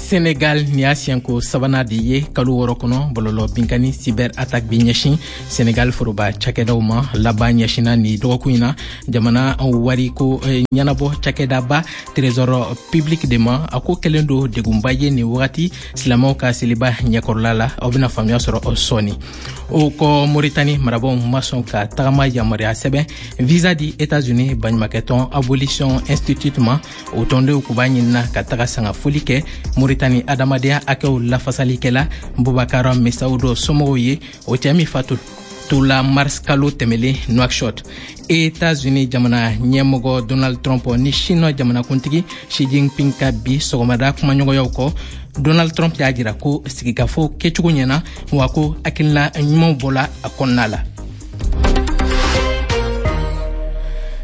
Senegal, nin y'a siɲɛko sabanan de ye kalo wɔɔrɔ kɔnɔ, bɔlɔlɔ binkani cyber attaque bi ɲɛsin Senegal foroba cakɛdaw ma. Laban ɲɛsinna ni dɔgɔkun in na jamana wariko ɲɛnabɔ cakɛdaba Trésor public de ma. A ko kɛlen do degunba ye nin wagati silamɛw ka seliba ɲɛkɔrɔla la. Aw bena faamuya sɔrɔ sɔɔni. O kɔ, Moritani marabaw ma sɔn ka tagama yamaruya sɛbɛn visa di États-Unis baɲumakɛtɔn Abolition Institute ma. O tɔndenw kun b'a ɲinina ka taga sanga foli kɛ Moritani adamadenya hakɛw lafasalikɛla Bubakar Mesawudo somɔgɔw ye, o cɛɛ min fatu tola mars kalo tɛmɛlen Nouakchott. États-Unis jamana ɲɛmɔgɔ Donald Trump ni Chine jamanakuntigi Xi Jinping ka bi sɔgɔmada kumaɲɔgɔnyaw kɔ, Donald Trump y'a jira ko sigikafɔ kɛcogo ɲɛna, wa ko hakilina ɲumanw bɔla a kɔnɔna la.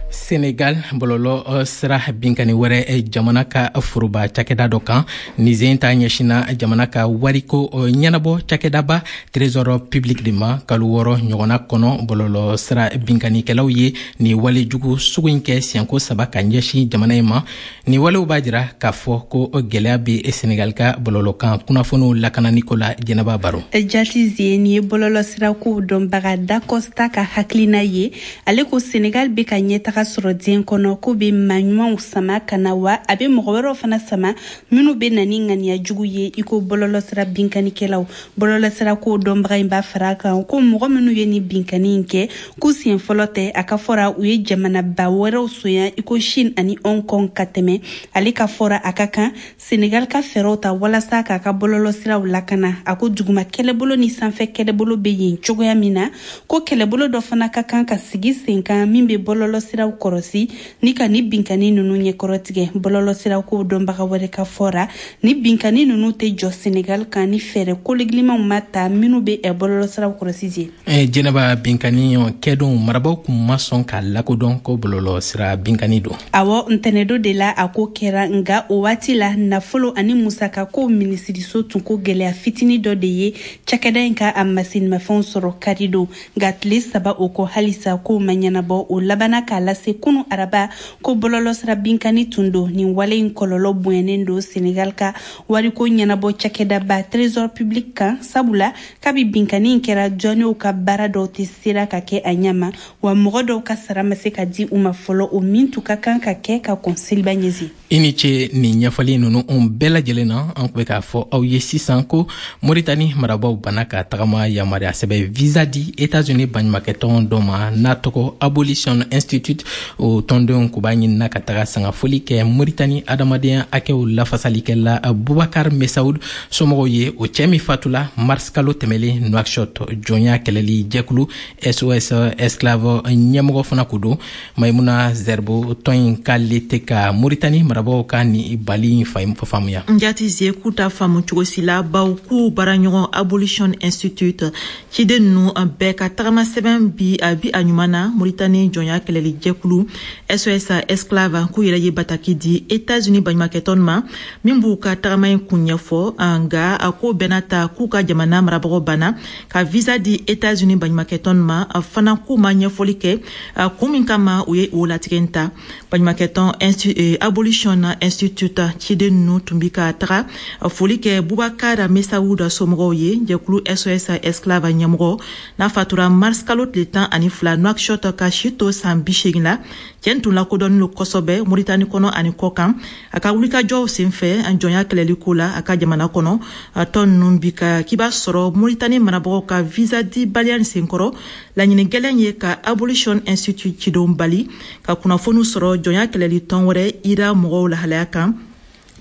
Senegal, bɔlɔlɔ sira binkani wɛrɛ jamana ka foroba cakɛda dɔ kan. Nin sen ta ɲɛsinna jamana ka wariko ɲɛnabɔ cakɛdaba Trésor public de ma. Kalo wɔɔrɔ ɲɔgɔnna kɔnɔ, bɔlɔlɔ sira binkanikɛlaw ye nin walejugu sugu in kɛ siɲɛko saba ka ɲɛsin jamana in ma. Nin walew b'a jira k'a fɔ ko gwɛlɛya bɛ Senegal ka bɔlɔlɔkan kunnafoniw lakananiko la. Jɛnɛba Baro. Jati Zie, nin ye bɔlɔlɔ sirakow dɔnbaga Dacosta ka hakilina ye. Ale ko Senegal bɛ ka ɲɛtaga sɔrɔ diɲɛ kɔnɔ, ko bɛ maa ɲumanw sama ka na, wa a bɛ mɔgɔ wɛrɛw fana sama minnu bɛ na ni ŋaniya jugu ye i ko bɔlɔlɔsira binkanikɛlaw. Bɔlɔlɔsira ko dɔnbaga in b'a fara a kan ko mɔgɔ minnu ye ni binkani in kɛ, k'u siɲɛ fɔlɔ tɛ. A ka fɔra, u ye jamanaba wɛrɛw sonya i ko Chine ani Hong Kong ka tɛmɛ. Ale ka fɔra, a ka kan Senegal ka fɛɛrɛw ta walasa k'a ka bɔlɔlɔsiraw lakana. A ko duguma kɛlɛbolo ni sanfɛ kɛlɛbolo bɛ yen cogoya min na, ko kɛlɛbolo dɔ fana ka kan ka sigi sen kan min bɛ bɔlɔlɔsiraw kɔrɔsi ni ka ni binkani ninnu ɲɛkɔrɔtigɛ. Bɔlɔlɔsiraw ko dɔnbaga wɛrɛ ka fɔra, ni binkani ninnu tɛ jɔ Senegal kan ni fɛɛrɛ kologilimanw ma ta minnu bɛ bɔlɔlɔsiraw kɔrɔsi je. Jɛnɛba, binkani kɛdon, marabaw kun ma sɔn k'a lakodɔn ko bɔlɔlɔ sira binkani don. Awɔ, ntɛnɛdo de la a ko kɛra, nga o waati la nafolo ani musaka ko minisiriso tun ko gwɛlɛya fitini dɔ de ye cakɛda in ka a masinimafɛnw sɔrɔ kari don. Nka tile saba o kɔ, halisa kow ma ɲɛnabɔ. O labanna k'a lase kunu araba ko bɔlɔlɔsira binkani tun don. Nin wale in kɔlɔlɔ bonyanen don Senegal ka wariko ɲɛnabɔ cakɛdaba Trésor public kan, sabula kabi binkani in kɛra, jɔnniw ka baara dɔw tɛ sera ka kɛ a ɲɛma, wa mɔgɔ dɔw ka sara ma se ka di u ma fɔlɔ, o min tun ka kan ka kɛ ka kɔn seliba ɲɛsin. I ni ce nin ɲɛfɔli ninnu bɛɛ lajɛlen na. An kun bɛ k'a fɔ aw ye sisan ko Moritani marabaw banna ka tagama yamaruya sɛbɛn visa di États-Unis baɲumakɛtɔn dɔ ma n'a tɔgɔ Abolition Institute. O tɔndenw kun b'a ɲinina ka taga sangafoli kɛ Moritani adamadenya hakɛw lafasalikɛla Bubakar Mesaud somɔgɔw ye, o cɛɛ min fatula mars kalo tɛmɛlen Nouakchott. Jɔnya kɛlɛli jɛkulu S O S Esclave ɲɛmɔgɔ fana ko don Maimuna Zerbo. Tɔn in k'ale tɛ ka Moritani marabaw ka ni bali in faamuya. Njati Zie, k'u ta faamu cogo si la, baw k'u baaraɲɔgɔn Abolition Institute ciden ninnu bɛɛ ka tagama sɛbɛn bi a bi a ɲuman na. Moritani jɔnya kɛlɛli jɛkulu S O S Esclave k'u yɛrɛ ye bataki di États-Unis baɲumakɛtɔn ma min b'u ka tagama in kun ɲɛfɔ. Nga a ko bɛɛ n'a ta, k'u ka jamana marabagaw banna ka visa di États-Unis baɲumakɛtɔn ma fana, k'u ma ɲɛfɔli kɛ kun min kama u ye o latigɛ ta. Baɲumakɛtɔn Abolition Institute ciden ninnu tun bi ka taga foli kɛ Bubakar Mesawuda somɔgɔw ye, jɛkulu S O S Esclave ɲɛmɔgɔ n'a fatura mars kalo tile tan ani fila Nouakchott ka si to san bi seegin la. Cɛn tun lakodɔnnen lo kosɛbɛ Moritani kɔnɔ ani kɔkan a ka wulikajɔw senfɛ jɔnya kɛlɛli ko la a ka jamana kɔnɔ. Tɔn ninnu bi ka k'i b'a sɔrɔ Moritani marabagaw ka visa di baliya nin senkɔrɔ, laɲini gɛlɛn ye ka Abolition Institute cidenw bali ka kunnafoniw sɔrɔ jɔnya kɛlɛli tɔn wɛrɛ ira mɔgɔw lahalaya kan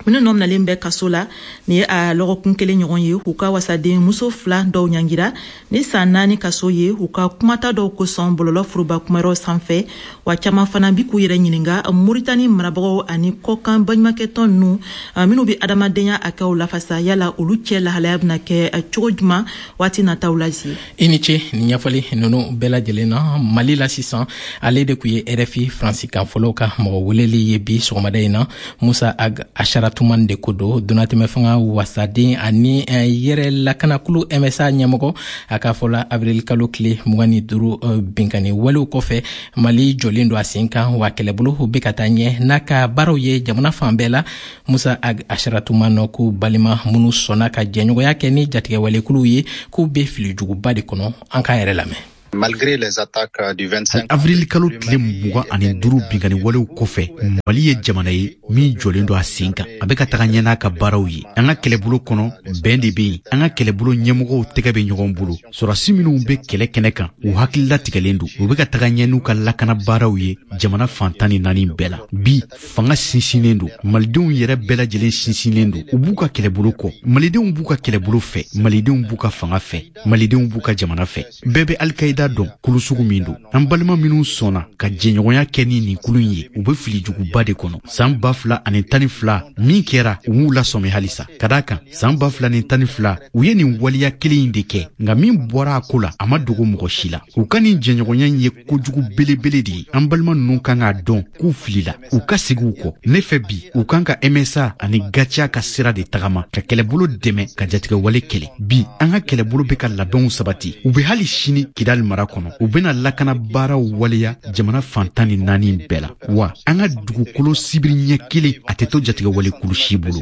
Minnu nɔ minalen bɛ kaso la, nin ye a lɔgɔkun kelen ɲɔgɔn ye, u ka wasaden muso fila dɔw ɲangira ni san naani kaso ye u ka kumata dɔw kosɔn bɔlɔlɔ foroba kumayɔrɔ sanfɛ. Wa caman fana bi k'u yɛrɛ ɲininga Moritani marabagaw ani kɔkan baɲumankɛtɔn ninnu minnu be adamadenya hakɛw lafasa, yala olu cɛ lahalaya bena kɛ cogo juman waati nataw la zie? I ni ce nin ɲɛfɔli nunu bɛɛ lajɛlen na. Mali la sisan, ale de kun ye R F I Faransikan fɔlɔw ka mɔgɔ weleli ye bi sɔgɔmada in na. Musa Ag Asharatuman de ko don, donatɛmɛ fanga wasaden ani yɛrɛ lakanakulu M S A ɲɛmɔgɔ. A k'a fɔla, avril kalo tile mugan ni duuru binkani walew kɔfɛ, Mali jɔlen don a sen kan, wa kɛlɛbolo bɛ ka taa ɲɛ n'a ka baaraw ye jamana fan bɛɛ la. Musa Ag Asharatuman ko balima minnu sɔnna ka jɛɲɔgɔnya kɛ ni jatigɛwalekuluw ye, k'u bɛ filijuguba de kɔnɔ. An k'a yɛrɛ lamɛn. Malgré les attaques du vingt-cinq Avril kalo tile mugan ani duuru binkani walew kɔfɛ, Mali ye jamana ye min jɔlen don a sen kan, a bɛ ka taga ɲɛ n'a ka baaraw ye. An ka kɛlɛbolo kɔnɔ, bɛn de bɛ yen. An ka kɛlɛbolo ɲɛmɔgɔw tɛgɛ bɛ ɲɔgɔn bolo. Sɔrɔdasi minnu bɛ kɛlɛ kɛnɛ kan, u hakili latigɛlen don, u bɛ ka taga ɲɛ n'u ka lakana baaraw ye jamana fan tan ni naani bɛɛ la. Bi, fanga sinsinnen don, malidenw yɛrɛ bɛɛ lajɛlen sinsinnen don, u b'u ka kɛlɛbolo kɔ, malidenw b'u ka kɛlɛbolo fɛ, malidenw b'u ka fanga fɛ, malidenw b'u ka jamana fɛ. Bɛɛ bɛ Alikayida dɔn kulu sugu min don. An balima minnu sɔnna ka jɛɲɔgɔnya kɛ ni nin kulu in ye, u bɛ filijuguba de kɔnɔ. San ba fila ani tan ni fila min kɛra, u m'u lasɔmi halisa, ka d'a kan san ba fila ni tan ni fila u ye nin waleya kelen in de kɛ, nka min bɔra a ko la, a ma dogo mɔgɔ si la. U ka nin jɛɲɔgɔnya in ye kojugu belebele de ye. An balima ninnu kan k'a dɔn k'u filila, u ka segin u kɔ. Ne fɛ bi, u kan ka M S A ani G A C I A ka sira de tagama ka kɛlɛbolo dɛmɛ ka jatigɛwale kɛlɛ. Bi, an ka kɛlɛbolo bɛ ka labɛnw sabati, u bɛ hali sini Kidali mara kɔnɔ, u bɛna lakana baaraw waleya jamana fan tan ni naani bɛɛ la. Wa an ka dugukolo sibiri ɲɛ kelen, a tɛ to jatigɛwale kulu si bolo.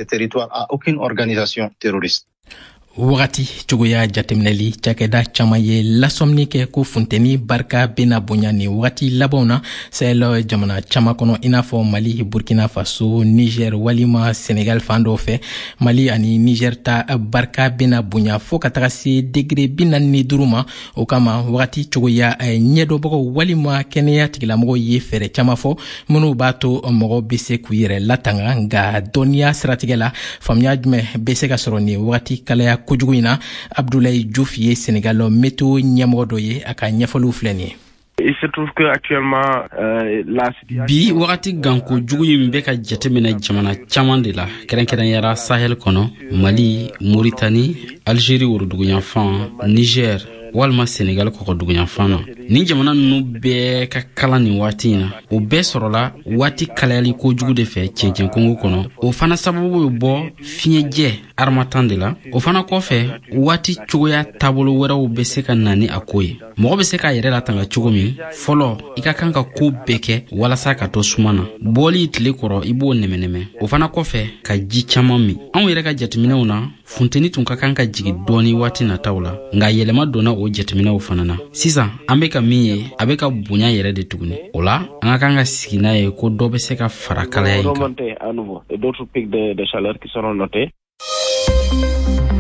Wagati cogoya jateminɛli cakɛda caaman ye lasɔmini kɛ ko funteni barika bena bonya ni wagati labanw na Sahel jamana caaman kɔnɔ, i n'a fɔ Mali, Burkina Faso, Niger walima Senegal fan dɔw fɛ. Mali ani Niger ta barika bena bonya fɔɔ ka taga se degere bi naani ni duru ma. O kama, wagati cogoya ɲɛdɔnbagaw walima kɛnɛya tigilamɔgɔw ye fɛɛrɛ caaman fɔ minw b'a to mɔgɔ be se k'u yɛrɛ latanga. Nka dɔnniya siratigɛ la, faamuya jumɛn be se ka sɔrɔ nin wagati kalaya kojugu in na? Abdulayi Juuf ye Senegal météo ɲɛmɔgɔ dɔ ye, a ka ɲɛfɔliw filɛ nin ye. Il se trouve que actuellement euh, la Bi wagati ganko jugu in bɛ ka jateminɛ jamana caman de la, kɛrɛnkɛrɛnyara Sahel kɔnɔ, Mali, Moritani, Algérie woroduguyanfan, Niger walima Senegal kɔkɔduguyanfan na. Nin jamana nunu bɛɛ ka kalan nin waati in na, o bɛɛ sɔrɔla waati kalayali kojugu de fɛ cɛncɛn kungo kɔnɔ. O fana sababu bɛ bɔ fiɲɛjɛ harmattan de la. O fana kɔfɛ, waati cogoya taabolo wɛrɛw bɛ se ka na ni a ko ye. Mɔgɔ bɛ se k'a yɛrɛ latanga cogo min, fɔlɔ, i ka kan ka koo bɛɛ kɛ walasa ka to suma na. Bɔli tile kɔrɔ, i b'o nɛmɛnɛmɛ. O fana kɔfɛ, ka ji caaman min. Anw yɛrɛ ka jateminɛw na, funteni tun ka kan ka jigi dɔɔni waati nataw la, nka yɛlɛma donna o jateminɛw fana na. Sisan an be ka min ye, a be ka bonya yɛrɛ de tuguni. O la, an ka kan ka sigi n'a ye ko dɔ bɛ se ka fara kalaya in kan.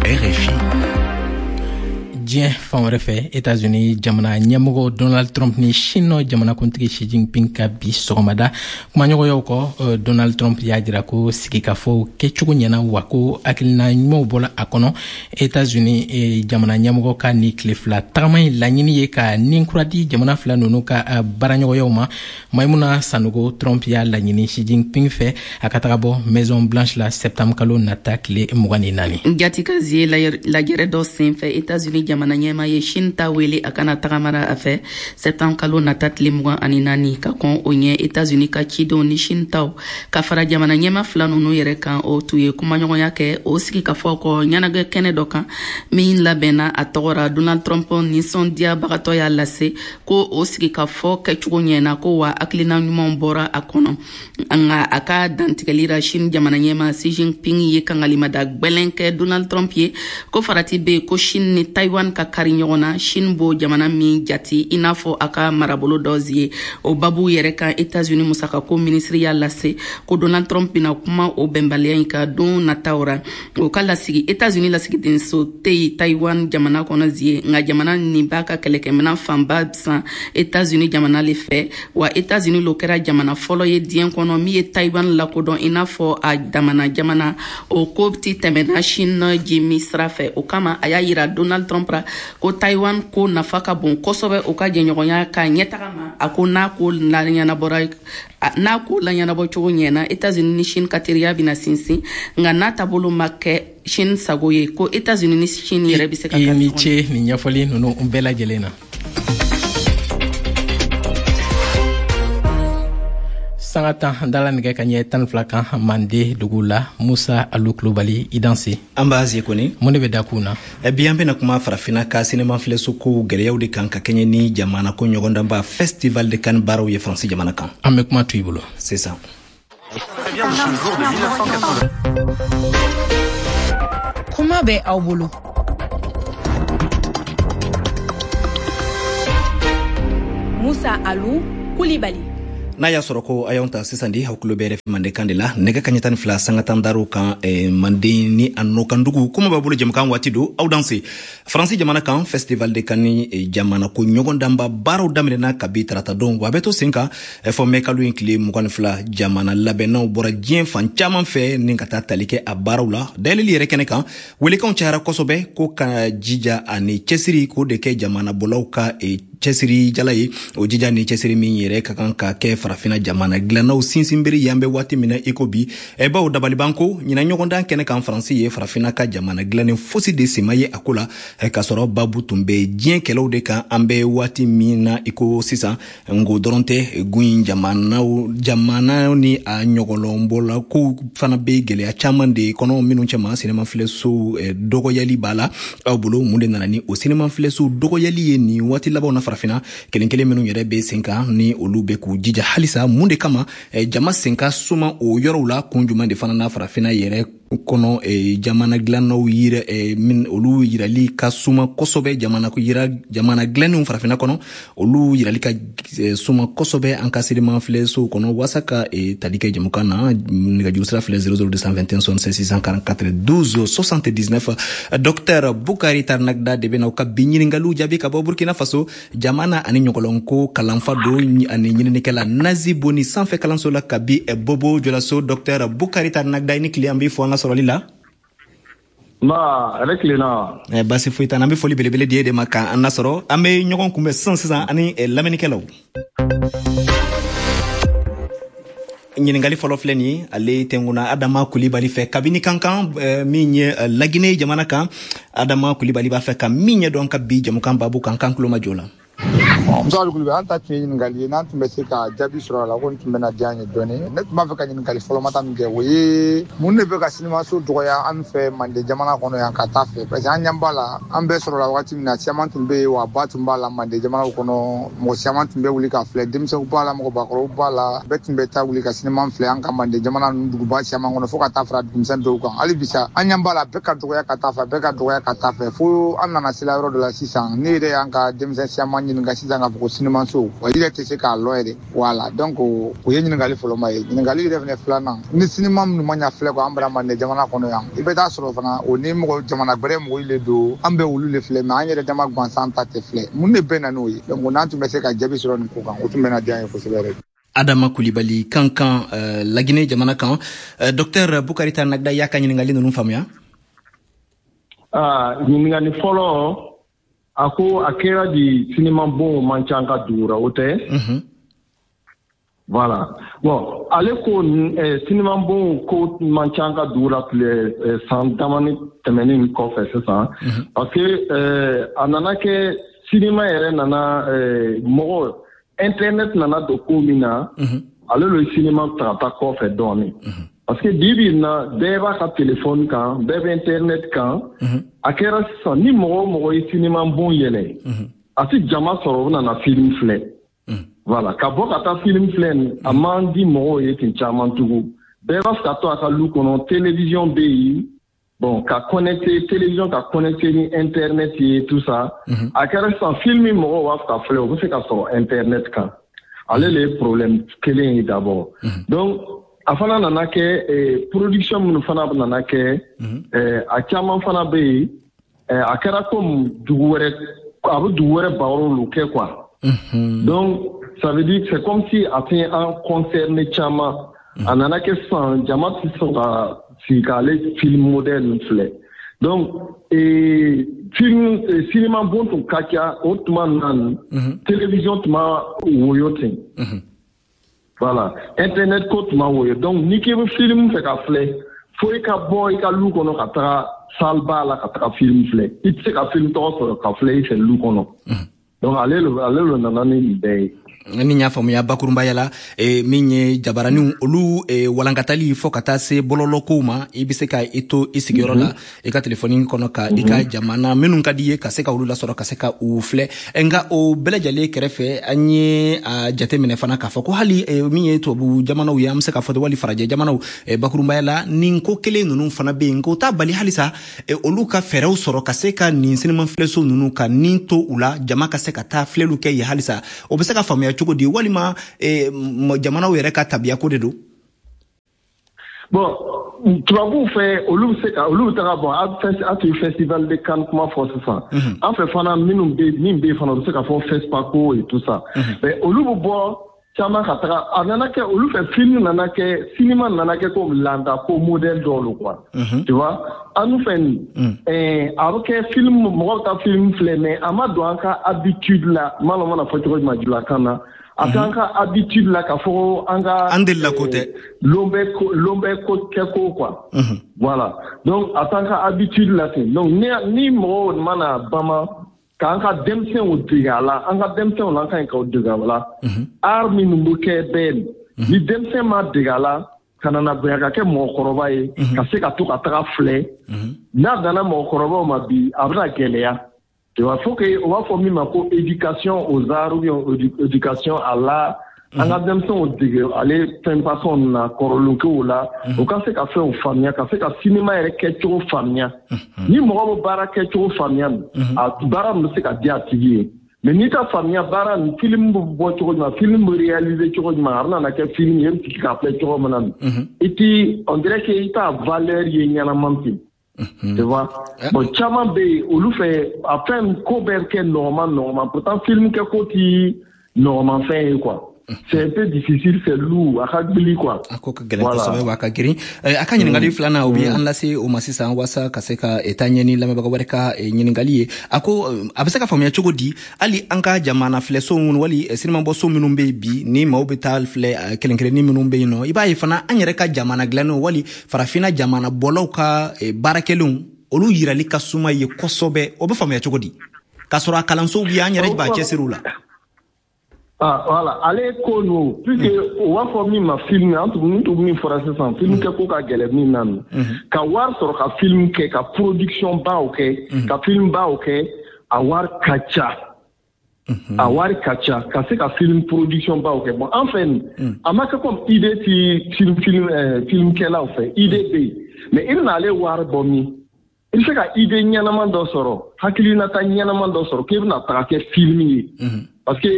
R F I. Diɲɛ fan wɛrɛ fɛ, Etats-Unis jamana ɲɛmɔgɔ Donald Trump ni Chine jamanakuntigi Xi Jinping ka bi sɔgɔmada kumaɲɔgɔnyaw kɔ, Donald Trump y'a jira ko sigikafɔw kɛcogo ɲɛna, wa ko hakilina ɲumanw bɔla a kɔnɔ. Etats-Unis jamana ɲɛmɔgɔ ka ni tile fila tagama in laɲini ye ka nin kura di jamana fila nunu ka baaraɲɔgɔnyaw ma. Maimuna Sanogo, Trump y'a laɲini Xi Jinping fɛ a ka taga bɔ Maison Blanche la septembre kalo nata tile mugan ni naani. Jatika zie, lajɛrɛ dɔ sen fɛ, Etats-Unis jamana ɲɛma ye Chine ta wele a kana tagamara a fɛ septembre kalo nata tile mugan ani naani. Ka kɔn o ɲɛ, Etats-Unis ka cidenw ni Chine taw ka fara jamana ɲɛma fila nunu yɛrɛ kan, o tun ye kumaɲɔgɔnya kɛ. O sigikafɔ kɔ ɲɛnagɛ kɛnɛ dɔ kan min labɛnna a tɔgɔ ra, Donald Trump nisɔndiyabagatɔ y'a lase ko o sigikafɔ kɛcogo ɲɛna, ko wa hakilina ɲumanw bɔra a kɔnɔ. Nka a ka dantigɛli ra, Chine jamana ɲɛma Xi Jinping ye kangalimada gwɛlɛn kɛ Donald Trump ye ko farati be ko Chine ni Taiwan Taiwan ka kari ɲɔgɔn na, Chine b'o jamana min jati i n'a fɔ a ka marabolo dɔ zie. O babu yɛrɛ kan, États-Unis musakako minisiri y'a lase ko Donald Trump bɛna kuma o bɛnbaliya in kan don nataw ra. O ka lasigi États-Unis lasigidenso tɛ yen Taiwan jamana kɔnɔ zie, nka jamana nin b'a ka kɛlɛkɛminɛn fanba san États-Unis jamana le fɛ. Wa États-Unis lo kɛra jamana fɔlɔ ye diɲɛ kɔnɔ min ye Taiwan lakodɔn i n'a fɔ a damana jamana. O ko ti tɛmɛna Chine jimi sira fɛ. O kama, a y'a yira Donald Trump ra ko Taiwan ko nafa ka bon kosɛbɛ o ka jɛɲɔgɔnya ka ɲɛtaga ma. A ko n'a ko laɲɛnabɔra, n'a ko laɲɛnabɔ cogo ɲɛna, États-Unis ni Chine ka teriya bɛna sinsin, nka n'a taabolo ma kɛ Chine sago ye, ko États-Unis ni Chine yɛrɛ bɛ se ka I ni ce nin ɲɛfɔli ninnu bɛɛ lajɛlen na. Sanga tan dala nɛgɛ ka ɲɛ tan fila kan Mande dugu la. Musa Alu Kulubali, i danse. An b'a ze kɔni. Mun de bɛ da kun na? Bi an bɛna kuma Farafinna ka sinema filɛso kow gɛlɛyaw de kan, ka kɛɲɛ ni jamana ko ɲɔgɔndanba Festival de Cannes baaraw ye Faransi jamana kan. An bɛ kuma to i bolo sisan. Kuma bɛ aw bolo. Musa Alu Kulibali. N'a y'a sɔrɔ ko a y'anw ta sisan di, aw tulo bɛ R F I Mandenkan de la, nɛgɛ kaɲɛ tan ni fila sanga tan daraw kan, eh, Manden ni a nɔkandugu. Kuma b'a bolo jɛmukan waati don, aw danse. Faransi jamana kan, Festival de Cannes eh, jamana ko ɲɔgɔndanba baaraw daminɛna kabi tarata don, wa a bɛ to sen kan eh, fɔ mɛ kalo in tile mugan ni fila. Jamana labɛnnaw bɔra diɲɛ fan caman fɛ ni ka taa tali kɛ a baaraw la. Dayɛlɛli yɛrɛ kɛnɛ kan, welekanw cayara kosɛbɛ ko ka jija ani cɛsiri k'o de kɛ jamana bɔlaw ka eh, cɛsiri jala ye. O jija ni cɛsiri min yɛrɛ ka kan ka kɛ Farafina jamana dilannaw sinsinbere ye an bɛ waati min na i ko bi. Bawo dabaliban ko ɲinan ɲɔgɔndan kɛnɛ kan, Faransi ye Farafina ka jamana dilannen fosi de sema ye a ko la, k'a sɔrɔ babu tun bɛ diɲɛ kɛlɛw de kan an bɛ waati min na i ko sisan. Nko dɔrɔn tɛ, gun jamanaw jamana ni a ɲɔgɔlɔnbɔla kow fana bɛ gɛlɛya caman de kɔnɔ minnu cɛma sinema filɛsow dɔgɔyali b'a la. Aw bolo, mun de nana ni o sinema filɛsow dɔgɔyali ye nin waati labanw na Farafinna? Kelen kelen minnu yɛrɛ bɛ sen kan ni olu bɛ k'u jija halisa, mun de kama jama sen ka suma o yɔrɔw la? Kun jumɛn de fana na Farafinna yɛrɛ kɔnɔ jamana dilannaw yira min olu yirali ka suma kosɛbɛ, jamana yira jamana dilannenw Farafinna kɔnɔ olu yirali ka suma kosɛbɛ an ka sinema filɛsow kɔnɔ? Waasa ka tali kɛ jɛmukan na, nɛgɛjuru sira filɛ zéro zéro deux cent vingt et un soixante-seize six cent quarante-quatre douze soixante-dix-neuf. Docteur Bukari Tarnagda de bɛna u ka bi ɲininkaliw jaabi ka bɔ Burkina Faso jamana ani ɲɔgɔlɔnko kalanfa don ani ɲininikɛla Nazi Boni sanfɛ kalanso la kabi Bobo Jolaso. Docteur Bukari Tarnagda, i ni tile, an b'i fo an ka sɔrɔli la. Nba, ale tilenna. Eh, baasi foyi t'an na, an bɛ foli belebele di e de ma k'an lasɔrɔ. An bɛ ɲɔgɔn kunbɛn sisan sisan ani lamɛnnikɛlaw. Ɲininkali fɔlɔ filɛ nin ye, ale tɛnkunna Adama Kulibali fɛ kabini Kankan min ye Laginɛ jamana kan. Adama Kulibali b'a fɛ ka min ɲɛdɔn ka bi jamukan babu kan, kan tulo majɔ la. Musa Alu Kulibali, an ta tun ye ɲininkali ye, n'an tun bɛ se ka jaabi sɔrɔ a la, ko nin tun bɛna diya an ye dɔɔni. Ne tun b'a fɛ ka ɲininkali fɔlɔmata min kɛ, o ye mun de bɛ ka sinimaso dɔgɔya an fɛ Manden jamana kɔnɔ yan ka taa fɛ? Parce que an ɲɛ b'a la, an bɛɛ sɔrɔla wagati min na, caman tun bɛ yen, wa ba tun b'a la Manden jamanaw kɔnɔ, mɔgɔ caman tun bɛ wuli ka filɛ, denmisɛnw b'a la, mɔgɔbakɔrɔw b'a la, bɛɛ tun bɛ taa wuli ka sinima filɛ an ka Manden jamana ninnu duguba caman kɔnɔ, fo ka taa fara dugumisɛn dɔw kan. Hali bi sa, an ɲɛ b'a la, bɛɛ ka dɔgɔya ka taa fɛ, bɛɛ ka dɔgɔya ka taa fɛ, fo an nana se la yɔrɔ dɔ la sisan. Ne yɛrɛ y'an ka denmisɛn caman ɲininka sisan k'a fɔ ko sinimanso, wa i yɛrɛ tɛ se k'a lɔ yɛrɛ. Voilà, donc o ye ɲininkali fɔlɔma ye. Ɲininkali yɛrɛ fɛnɛ filanan, ni sinima minnu ma ɲa filɛ kɔ an bara Manden jamana kɔnɔ yan, i bɛ taa sɔrɔ fana o ni mɔgɔ jamana gbɛrɛ mɔgɔw le don, an bɛ olu le filɛ, mais an yɛrɛ dama gansan ta tɛ filɛ. Mun de bɛ na n'o ye? Donc n'an tun bɛ se ka jaabi sɔrɔ nin ko kan, o tun bɛna diya an ye kosɛbɛ yɛrɛ. Adama Kulibali Kankan, uh, Laginɛ jamana kan. uh, Docteur Bukari Tarnagda y'a ka ɲininkali ninnu faamuya? Ah, ɲininkali fɔlɔ, a ko a kɛra di sinima bon man ca an ka dugu ra, o tɛ? Voilà. Bon, ale ko eh, sinima bon ko man ca an ka dugu la tile eh, san damani tɛmɛnen kɔfɛ sisan. Parce que eh, a nana kɛ sinima yɛrɛ nana eh, mɔgɔ internet nana don ko min na, ale le sinima ta ka taa kɔfɛ dɔɔnin. Parce que bi bi in na, bɛɛ b'a ka téléphone kan, bɛɛ bɛ internet kan. A kɛra sisan ni mɔgɔ o mɔgɔ ye sinima bon yɛlɛ, a ti jama sɔrɔ, o bɛna na film filɛ. Voilà, ka bɔ ka taa film filɛ nin, a man di mɔgɔw ye ten caman tugun. Bɛɛ b'a fɛ ka to a ka lu kɔnɔ, télévision bɛ yen, Bon, ka connecter télévision, ka connecter ni internet ye, tout ça. A kɛra sisan, film min mɔgɔw b'a fɛ ka filɛ, o bɛ se ka sɔrɔ internet kan. Ale le ye problème kelen ye d'abord. Donc a fana nana kɛ, production minnu fana nana kɛ, a caman fana bɛ yen, a kɛra comme dugu wɛrɛ, a bɛ dugu wɛrɛ barow kɛ quoi. Donc ça veut dire, c'est comme si a tɛ an concerné caman. A nana kɛ sisan, jama tɛ sɔn ka sigi k'ale film modèle ninnu filɛ. Donc film cinéma bon tun ka ca o tuma na, télévision tun ma woyo ten. Voilà, internet ko tun ma woyo. Donc n'i k'i bɛ film fɛ ka filɛ, fo i ka bɔ i ka lu kɔnɔ ka taga salle ba la ka taga film filɛ. I tɛ se ka film tɔgɔ sɔrɔ ka filɛ i fɛ lu kɔnɔ. Donc ale ale le nana ni nin bɛɛ ye. Ni y'a faamuya bakurunbaya la, e, min ye jabaraniw olu e, walankatali fɔ ka taa se bɔlɔlɔkow ma, i bɛ se ka i to i sigiyɔrɔ la, i ka telefɔni kɔnɔ, ka i ka jamana minnu ka di ye, ka se ka olu lasɔrɔ, ka se ka u filɛ. Nka o bɛɛ lajɛlen kɛrɛfɛ, an ye a jateminɛ fana k'a fɔ ko hali e, min ye tubabu jamanaw ye, an bɛ se k'a fɔ wali farajɛ jamanaw, e, bakurunbaya la, nin ko kelen ninnu fana bɛ yen. Nka o t'a bali halisa e, olu ka fɛɛrɛw sɔrɔ ka se ka nin sinima filɛso ninnu ka nin to u la, jama ka se ka taa filɛliw kɛ yen halisa. O bɛ se ka faamuya cogo di, walima eh, jamanaw yɛrɛ ka tabiya ko de don? Bon, tubabuw fɛ, olu bɛ se ka olu bɛ taga. Bon, a tun ye Festival de Cannes kuma fɔ sisan. An fɛ fana, minnu bɛ min bɛ yen fana, u bɛ se ka fɔ FESPACO et tout ça. Mais olu bɛ bɔ caman ka taga. A nana kɛ olu fɛ, film nana kɛ, cinéma nana kɛ comme landa ko modèle dɔw lo quoi, tu vois. An nu fɛ nin, a bɛ kɛ film, mɔgɔw bɛ taa film filɛ, mais a ma don an ka habitude la. N m'a lɔn n mana fɔ cogo jumɛn julakan na. A t'an ka habitude la k'a fɔ an ka an delila ko tɛ. Lon bɛ ko lon bɛ ko kɛ ko quoi. Voilà, donc a t'an ka habitude la ten. Donc ni ni mɔgɔw mana bama k'an ka denmisɛnw dege a la, an ka denmisɛnw la, an ka ɲi k'o dege a la. Art minnu bɛ kɛ bɛɛ, ni denmisɛn ma dege a la, ka nana bonya ka kɛ mɔgɔkɔrɔba ye, ka se ka to ka taga filɛ, n'a danna mɔgɔkɔrɔbaw ma bi, a bɛna gɛlɛya. Tu vois, faut que o b'a fɔ min ma ko éducation aux arts ou bien éducation à l'art. An ka denmisɛnw dege ale fɛn façon na kɔrɔlenkow la, u ka se ka fɛnw faamuya, ka se ka cinéma yɛrɛ kɛcogo faamuya. Ni mɔgɔ bɛ baara kɛcogo faamuya, a baara min bɛ se ka di a tigi ye. Mais n'i ta faamuya baara nin, film bɛ bɔ cogo jumɛn, film bɛ réaliser cogo jumɛn, a bɛna kɛ film ye, e bɛ sigi k'a filɛ cogo min na, i ti, on dirait que i t'a valeur ye ɲɛnama ten. Tu vois, bon, caman bɛ yen, olu fɛ, a fɛn ko bɛɛ kɛ nɔgɔman nɔgɔman. Pourtant film kɛ ko ti nɔgɔman fɛn ye quoi. C'est un peu difficile, c'est lourd, a ka gbili quoi. A ko ka gɛlɛn kosɛbɛ, wa a ka girin. A ka ɲininkali filanan, o bɛ an lase o ma sisan, waasa ka se ka taa ɲɛ ni lamɛnbaga wɛrɛ ka ɲininkali ye. A ko a bɛ se ka faamuya cogo di, hali an ka jamana filɛso minnu wali sinimabɔso minnu bɛ yen bi, ni maaw bɛ taa filɛ kelen kelennin minnu bɛ yen nɔ, i b'a ye fana an yɛrɛ ka jamana dilannenw wali farafinna jamana bɔlaw ka baarakɛlenw, olu yirali ka suma ye kosɛbɛ. O bɛ faamuya cogo di, k'a sɔrɔ a kalansow bɛ yen, an yɛrɛ b'a cɛsiri u la? Ah, voilà, ale ko ninnu, puisque o b'a fɔ min ma film, an tun tun min fɔra sisan, film kɛ ko ka gɛlɛn min na, ka wari sɔrɔ ka film kɛ, ka production baw kɛ, ka film baw kɛ, a wari ka ca. A wari ka ca ka se ka film production baw kɛ. Bon, an fɛ nin, a ma kɛ comme idée ti film film film kɛlaw fɛ, idée bɛ yen, mais i bɛna ale wari bɔ min? I bɛ se ka idée ɲɛnama dɔ sɔrɔ, hakilinata ɲɛnama dɔ sɔrɔ k'e bɛna taga kɛ film ye, parce que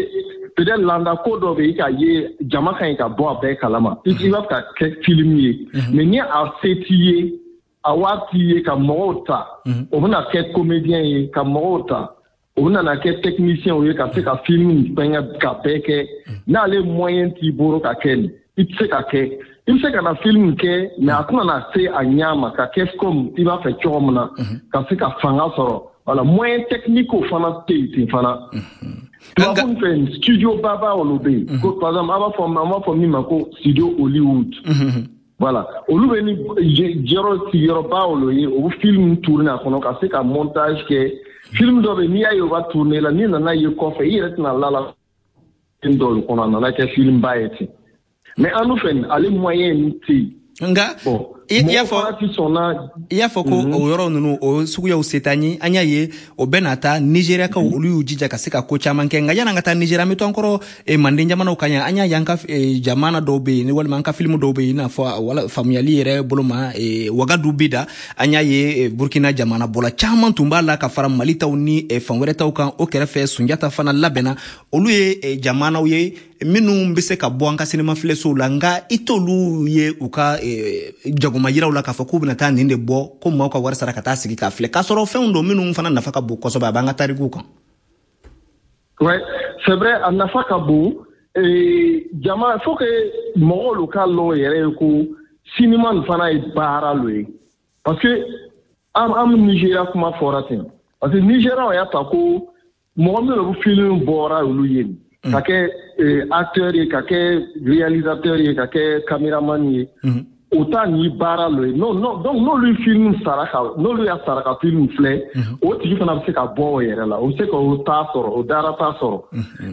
peut-être landa ko dɔ bɛ yen ka ye, jama ka ɲi ka bɔ a bɛɛ kalama, i b'a fɛ ka kɛ film ye, mais ni a se t'i ye, a wari t'i ye ka mɔgɔw ta, o bɛna kɛ comédien ye, ka mɔgɔw ta, o bɛna na kɛ technicien ye, ka se ka film fɛngɛ ka bɛɛ kɛ. N'ale moyen t'i bolo ka kɛ nin, i tɛ se ka kɛ. I bɛ se ka na film kɛ, mais a tɛna na se a ɲɛ ma ka kɛ comme i b'a fɛ cogo min na, ka se ka fanga sɔrɔ. Voilà, moyen technique fana tɛ yen ten fana. Tubabu fɛ, studio baba olu bɛ yen. Ko par exemple, an b'a fɔ an b'a fɔ min ma ko studio Hollywood. Voilà, olu bɛ ni yɔrɔ sigiyɔrɔba olu ye, o bɛ film tourner a kɔnɔ ka se ka montage kɛ. Film dɔ bɛ yen, n'i y'a ye o b'a tourner la, n'i nana ye kɔfɛ, i yɛrɛ tɛna la la film dɔw kɔnɔ, a nana kɛ film ba ye ten. Mais an dun fɛ, ale moyen tɛ yen. Nka bon. I y'a fɔ i y'a fɔ ko o yɔrɔ ninnu, o suguyaw se t'an ye. An y'a ye o bɛɛ n'a ta, Nigériakaw, olu y'u jija ka se ka ko caman kɛ. Nka yan'an ka taa Nigéria, an bɛ to an kɔrɔ manden jamanaw kan yan. An y'a ye an ka jamana dɔw bɛ yen, walima an ka filimu dɔw bɛ yen, i n'a fɔ wala faamuyali yɛrɛ bolo ma, Wagadu bi da. An y'a ye Burkina jamana bɔla caman tun b'a la ka fara Mali taw ni fan wɛrɛ taw kan. O kɛrɛfɛ, Sunjata fana labɛnna. Olu ye jamanaw ye minnu bɛ se ka bɔ an ka sinima filɛsow la, nka i t'olu ye u ka jagoma yiraw la k'a fɔ k'u bɛna taa nin de bɔ, ko maaw ka wari sara ka taa sigi k'a filɛ, k'a sɔrɔ fɛnw don minnu fana nafa ka bon kosɛbɛ, a b'an ka tarikuw kan. Ouais, c'est vrai, a nafa ka bon. Jama, faut que mɔgɔw k'a lɔn yɛrɛ ye ko sinima nin fana ye baara lo ye, parce que an an Nigéria kuma fɔra ten, parce que Nigéria y'a ta ko mɔgɔ minnu bɛ film bɔra olu ye, ka kɛ acteur ye, ka kɛ réalisateur ye, ka kɛ caméraman ye, o ta ni baara lo ye. Non non, donc n'olu ye film sara ka n'olu y'a sara ka film filɛ, o tigi fana bɛ se ka bɔ o yɛrɛ la, o bɛ se k'o ta sɔrɔ, o dara ta sɔrɔ.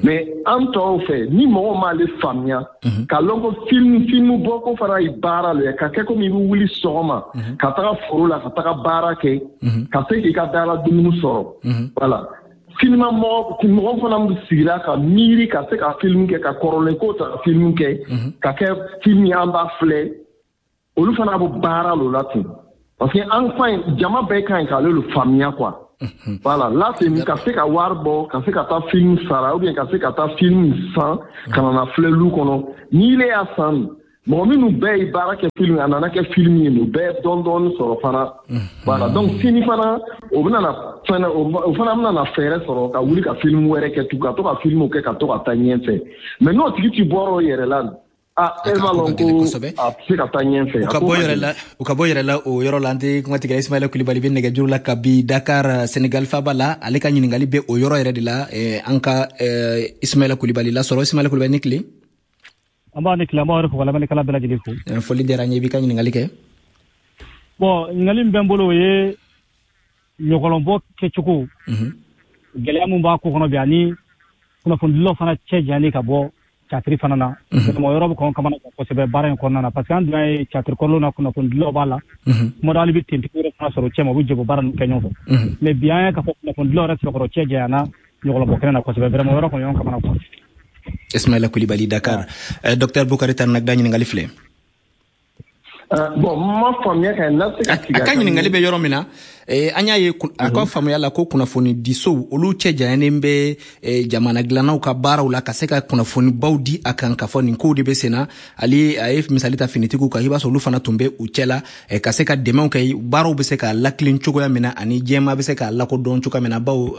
Mais an tɔw fɛ, ni mɔgɔ m'ale faamuya k'a lɔn ko film film bɔko fana ye baara lo ye, ka kɛ komi i bɛ wuli sɔgɔma ka taga foro la, ka taga baara kɛ, ka se k'i ka dara dumuni sɔrɔ, voilà. Sinima mɔgɔ mɔgɔ fana bɛ sigira ka miiri ka se ka film kɛ, ka kɔrɔlen ko ta ka film kɛ, ka kɛ film ye an b'a filɛ, olu fana bɛ baara lo la ten, parce que an ka ɲi, jama bɛɛ ka ɲi k'ale le faamuya quoi. Voilà, là c'est ka se ka wari bɔ, ka se ka taa film sara, ou bien ka se ka taa film san ka na na filɛ lu kɔnɔ. N'i le y'a san, mɔgɔ minnu bɛɛ ye baara kɛ film, a nana kɛ film ye, u bɛɛ dɔɔni dɔɔni sɔrɔ fana. Voilà, donc sini fana o bɛna na fɛnɛ, o fana bɛna na fɛɛrɛ sɔrɔ ka wuli ka film wɛrɛ kɛ tugun, ka to ka film kɛ, ka to ka taa ɲɛfɛ. Mais n'o tigi ti bɔra o yɛrɛ la, ah, e b'a lɔn ko a tɛ se ka taa ɲɛfɛ. U ka bɔ yɛrɛ la, u ka bɔ yɛrɛ la o yɔrɔ la. An tɛ kuma tigɛ. Ismaila Kulibali bɛ nɛgɛjuru la kabi Dakar, Senegal faba la. Ale ka ɲininkali bɛ o yɔrɔ yɛrɛ de la. An ka Ismaila Kulibali lasɔrɔ. Ismaila Kulibali, ni tile. An b'a ni tile, an b'a yɛrɛ fo ka lamɛnnikɛla bɛɛ lajɛlen fo. Foli diyara n ye. I b'i ka ɲininkali kɛ. Bon, ɲininkali min bɛ n bolo, o ye ɲɔgɔlɔnbɔ kɛcogo, gɛlɛya min b'a ko kɔnɔ bi, ani kunnafonidilaw fana cɛ janyani ka bɔ catiri fana na. Mɔgɔ yɔrɔ bɛ kɔn kamana kosɛbɛ baara in kɔnɔna na, parce que an dun ye catiri kɔrɔlenw na, kunnafonidilaw b'a la, kuma dɔ hali bɛ tentigi yɛrɛ fana sɔrɔ cɛ ma, u bɛ jɛ baara ninnu kɛ ɲɔgɔn fɛ. Mais bi an ye k'a fɔ kunnafonidilaw yɛrɛ sɛbɛkɔrɔ cɛ janyana ɲɔgɔlɔnbɔ kɛnɛ na kosɛbɛ, vraiment yɔrɔ kɔni ɲɔgɔn kamana kuwa. Ismaila Kulibali, Dakar. Docteur Bukari Tarnagda, ɲininkali filɛ. Bon, ma faamuya ka na se ka a ka ɲininkali bɛ yɔrɔ min na, an y'a ye a ka faamuya la ko kunnafoni disow, olu cɛ janyanen bɛ jamana dilannaw ka baaraw la, ka se ka kunnafonibaw di a kan, k'a fɔ nin kow de bɛ sen na. Ale a ye misali ta finitigiw kan, i b'a sɔrɔ olu fana tun bɛ u cɛ la, ka se ka dɛmɛw kɛ, baaraw bɛ se ka lakilen cogoya min na, ani jɛma bɛ se k'a lakodɔn cogoya min na. Bawo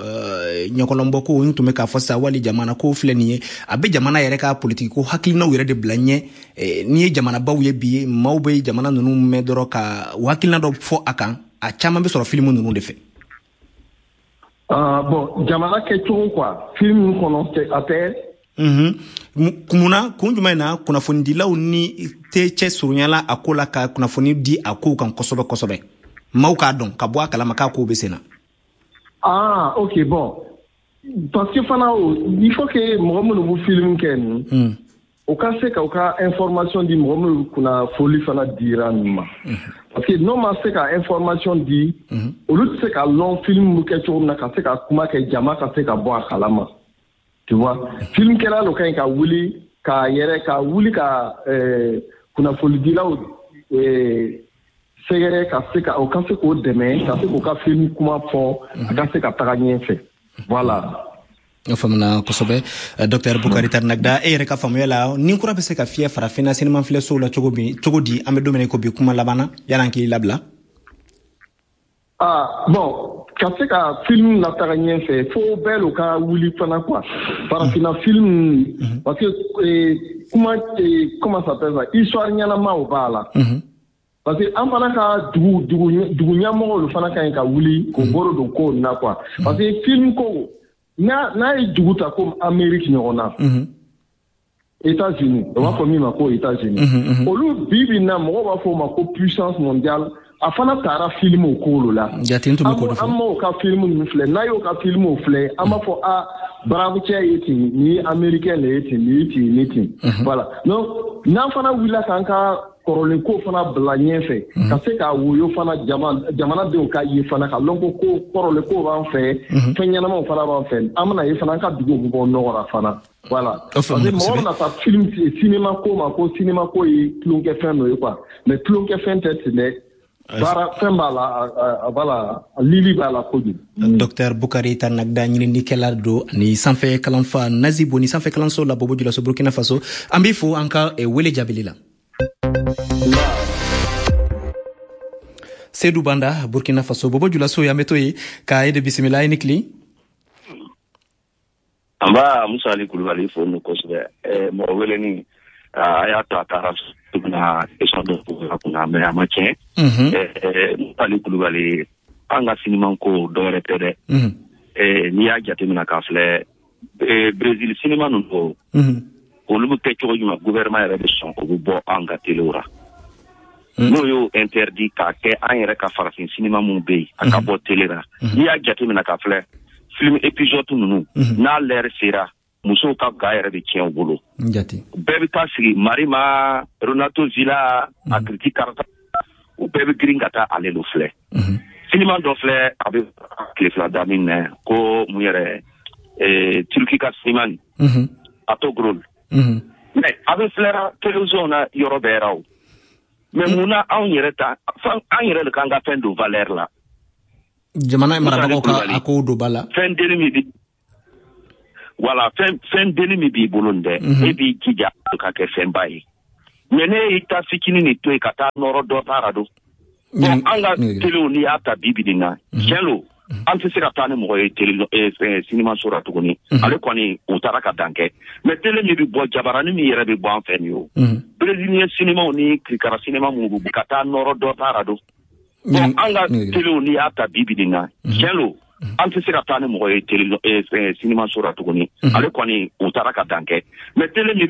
ɲɔgɔlɔnbɔ ko n tun bɛ k'a fɔ sisan, wali jamana ko filɛ nin ye, a bɛ jamana yɛrɛ ka politiki ko hakilinaw yɛrɛ de bila ɲɛ. N'i ye jamanabaw ye bi, maaw bɛ jamana ninnu mɛn dɔrɔn ka u hakilina dɔ fɔ a kan, a caman bɛ sɔrɔ filimu ninnu de fɛ. Bon, jamana kɛcogo quoi, filimu kɔnɔ a tɛ. Munna, kun jumɛn na kunnafonidilaw ni tɛ cɛ surunyala a ko la ka kunnafoni di a kow kan kosɛbɛ kosɛbɛ, maaw k'a dɔn ka bɔ a kalama k'a kow bɛ sen na? Ah, ok, bon, parce que fana il faut que mɔgɔ minnu bɛ filimu kɛ nin, o ka se ka u ka information di mɔgɔ minnu kunnafoli fana dira ninnu ma, parce que n'o ma se ka information di, olu tɛ se ka lɔn film bɛ kɛ cogo min na, ka se ka kuma kɛ, jama ka se ka bɔ a kalama, tu vois. Film kɛla lo ka ɲi ka wuli ka yɛrɛ ka wuli ka kunnafonidilaw sɛgɛrɛ, ka se ka o ka se k'o dɛmɛ, ka se k'o ka film kuma fɔ, a ka se ka taga ɲɛfɛ, voilà. O faamuna kosɛbɛ. Docteur Bukari Tarnagda, e yɛrɛ ka faamuya la, ni kura bɛ se ka fiyɛ farafinna sinima filɛsow la cogo min, cogo di, an bɛ don min na i ko bi, kuma laban na yan'an k'i labila? Ah bon, ka se ka film lataga ɲɛfɛ, fo bɛɛ lo ka wuli fana quoi, farafinna film, parce que kuma, comment ça s'appelle ça, histoire ɲɛnamaw b'a la. Parce que an fana ka dugu dugu dugu ɲɛmɔgɔw fana ka ɲi ka wuli k'o bolo don ko nin na quoi, parce que film ko n'a n'a ye dugu ta comme Amérique ɲɔgɔn na, États-Unis, o b'a fɔ min ma ko États-Unis, olu bi bi in na mɔgɔw b'a fɔ o ma ko puissance mondiale, a fana taara film ko lo la. An m'o ka film ninnu filɛ, n'a y'o ka film filɛ, an b'a fɔ a brave cɛ ye ten, nin ye américain de ye ten, nin ye ten, nin ye ten, voilà. Donc n'an fana wulila k'an ka kɔrɔlen ko fana bila ɲɛfɛ, ka se k'a woyo fana jamanadenw ka ye fana, ka lɔn ko ko kɔrɔlen ko b'an fɛ, fɛn ɲɛnamaw fana b'an fɛ. An bɛna ye fana an ka duguw bɛ bɔ nɔgɔ la fana. Voilà, parce que mɔgɔ bɛna taa film cinéma ko ma ko cinéma ko ye tulonkɛfɛn dɔ ye quoi, mais tulonkɛfɛn tɛ ten dɛ. Baara fɛn b'a la, voilà, lili b'a la kojugu. Docteur Bukari Tarnagda, ɲininikɛla don ani sanfɛ kalanfa Nazibo ni sanfɛ kalanso la Bobo Julaso, Burkina Faso. An b'i fo an ka wele jaabili la. Seydou Banda, Burkina Faso, Bobo Julaso, y'an bɛ to yen ka e de bisimila. I ni tile. An b'a Musa Ali Kulubali fo nu kosɛbɛ. Mɔgɔ weleni a y'a to a taara bɛna question dɔ poser a kunna, mais a ma tiɲɛ. Musa Ali Kulubali, an ka sinima ko dɔwɛrɛ tɛ dɛ. N'i y'a jateminɛ k'a filɛ, Brésil sinima ninnu, olu bɛ kɛ cogo jumɛn, gouvernement yɛrɛ bɛ sɔn o bɛ bɔ an ka telew la. N'o y'o interdit k'a kɛ an yɛrɛ ka farafin sinima minnu bɛ yen, a ka bɔ tele la. N'i y'a jateminɛ k'a filɛ, film épisode ninnu, n'a l'heure sera, musow ka ga yɛrɛ bɛ tiɲɛ u bolo. Bɛɛ bɛ taa sigi Marima, Renato Zila, a kiriti karata, u bɛɛ bɛ girin ka taa ale lo filɛ. Sinima dɔ filɛ, a bɛ tile fila daminɛ ko mun yɛrɛ, Turki ka sinima nin, Atogrol. Mais a bɛ filɛra télévision na yɔrɔ bɛɛ ra o. Mais mun na anw yɛrɛ ta, an yɛrɛ de k'an ka fɛn don valeur la. Jamana marabagaw ka a kow don ba la. Fɛn denni min bi, voilà, fɛn fɛn denni min b'i bolo nin dɛ, e b'i jija ka kɛ fɛnba ye. Mais ne y'i ta fitinin nin to yen ka taa nɔrɔ dɔ ta ra don. Bon, an ka telew n'i y'a ta bi bi nin na, tiɲɛ lo, an tɛ se ka taa ni mɔgɔ ye tele sinimaso la tuguni. Ale kɔni u taara ka dan kɛ. Mais tele min bɛ bɔ, jabaranin min yɛrɛ bɛ bɔ an fɛ nin ye o. Brésilien sinimaw ni kirikara sinima minnu bɛ ka taa nɔrɔ dɔ ta ra don. Bon, an ka telew n'i y'a ta bi bi nin na, tiɲɛ lo, an tɛ se ka taa ni mɔgɔ ye tele sinimaso la tuguni. Ale kɔni u taara ka dan kɛ. Mais tele min bɛ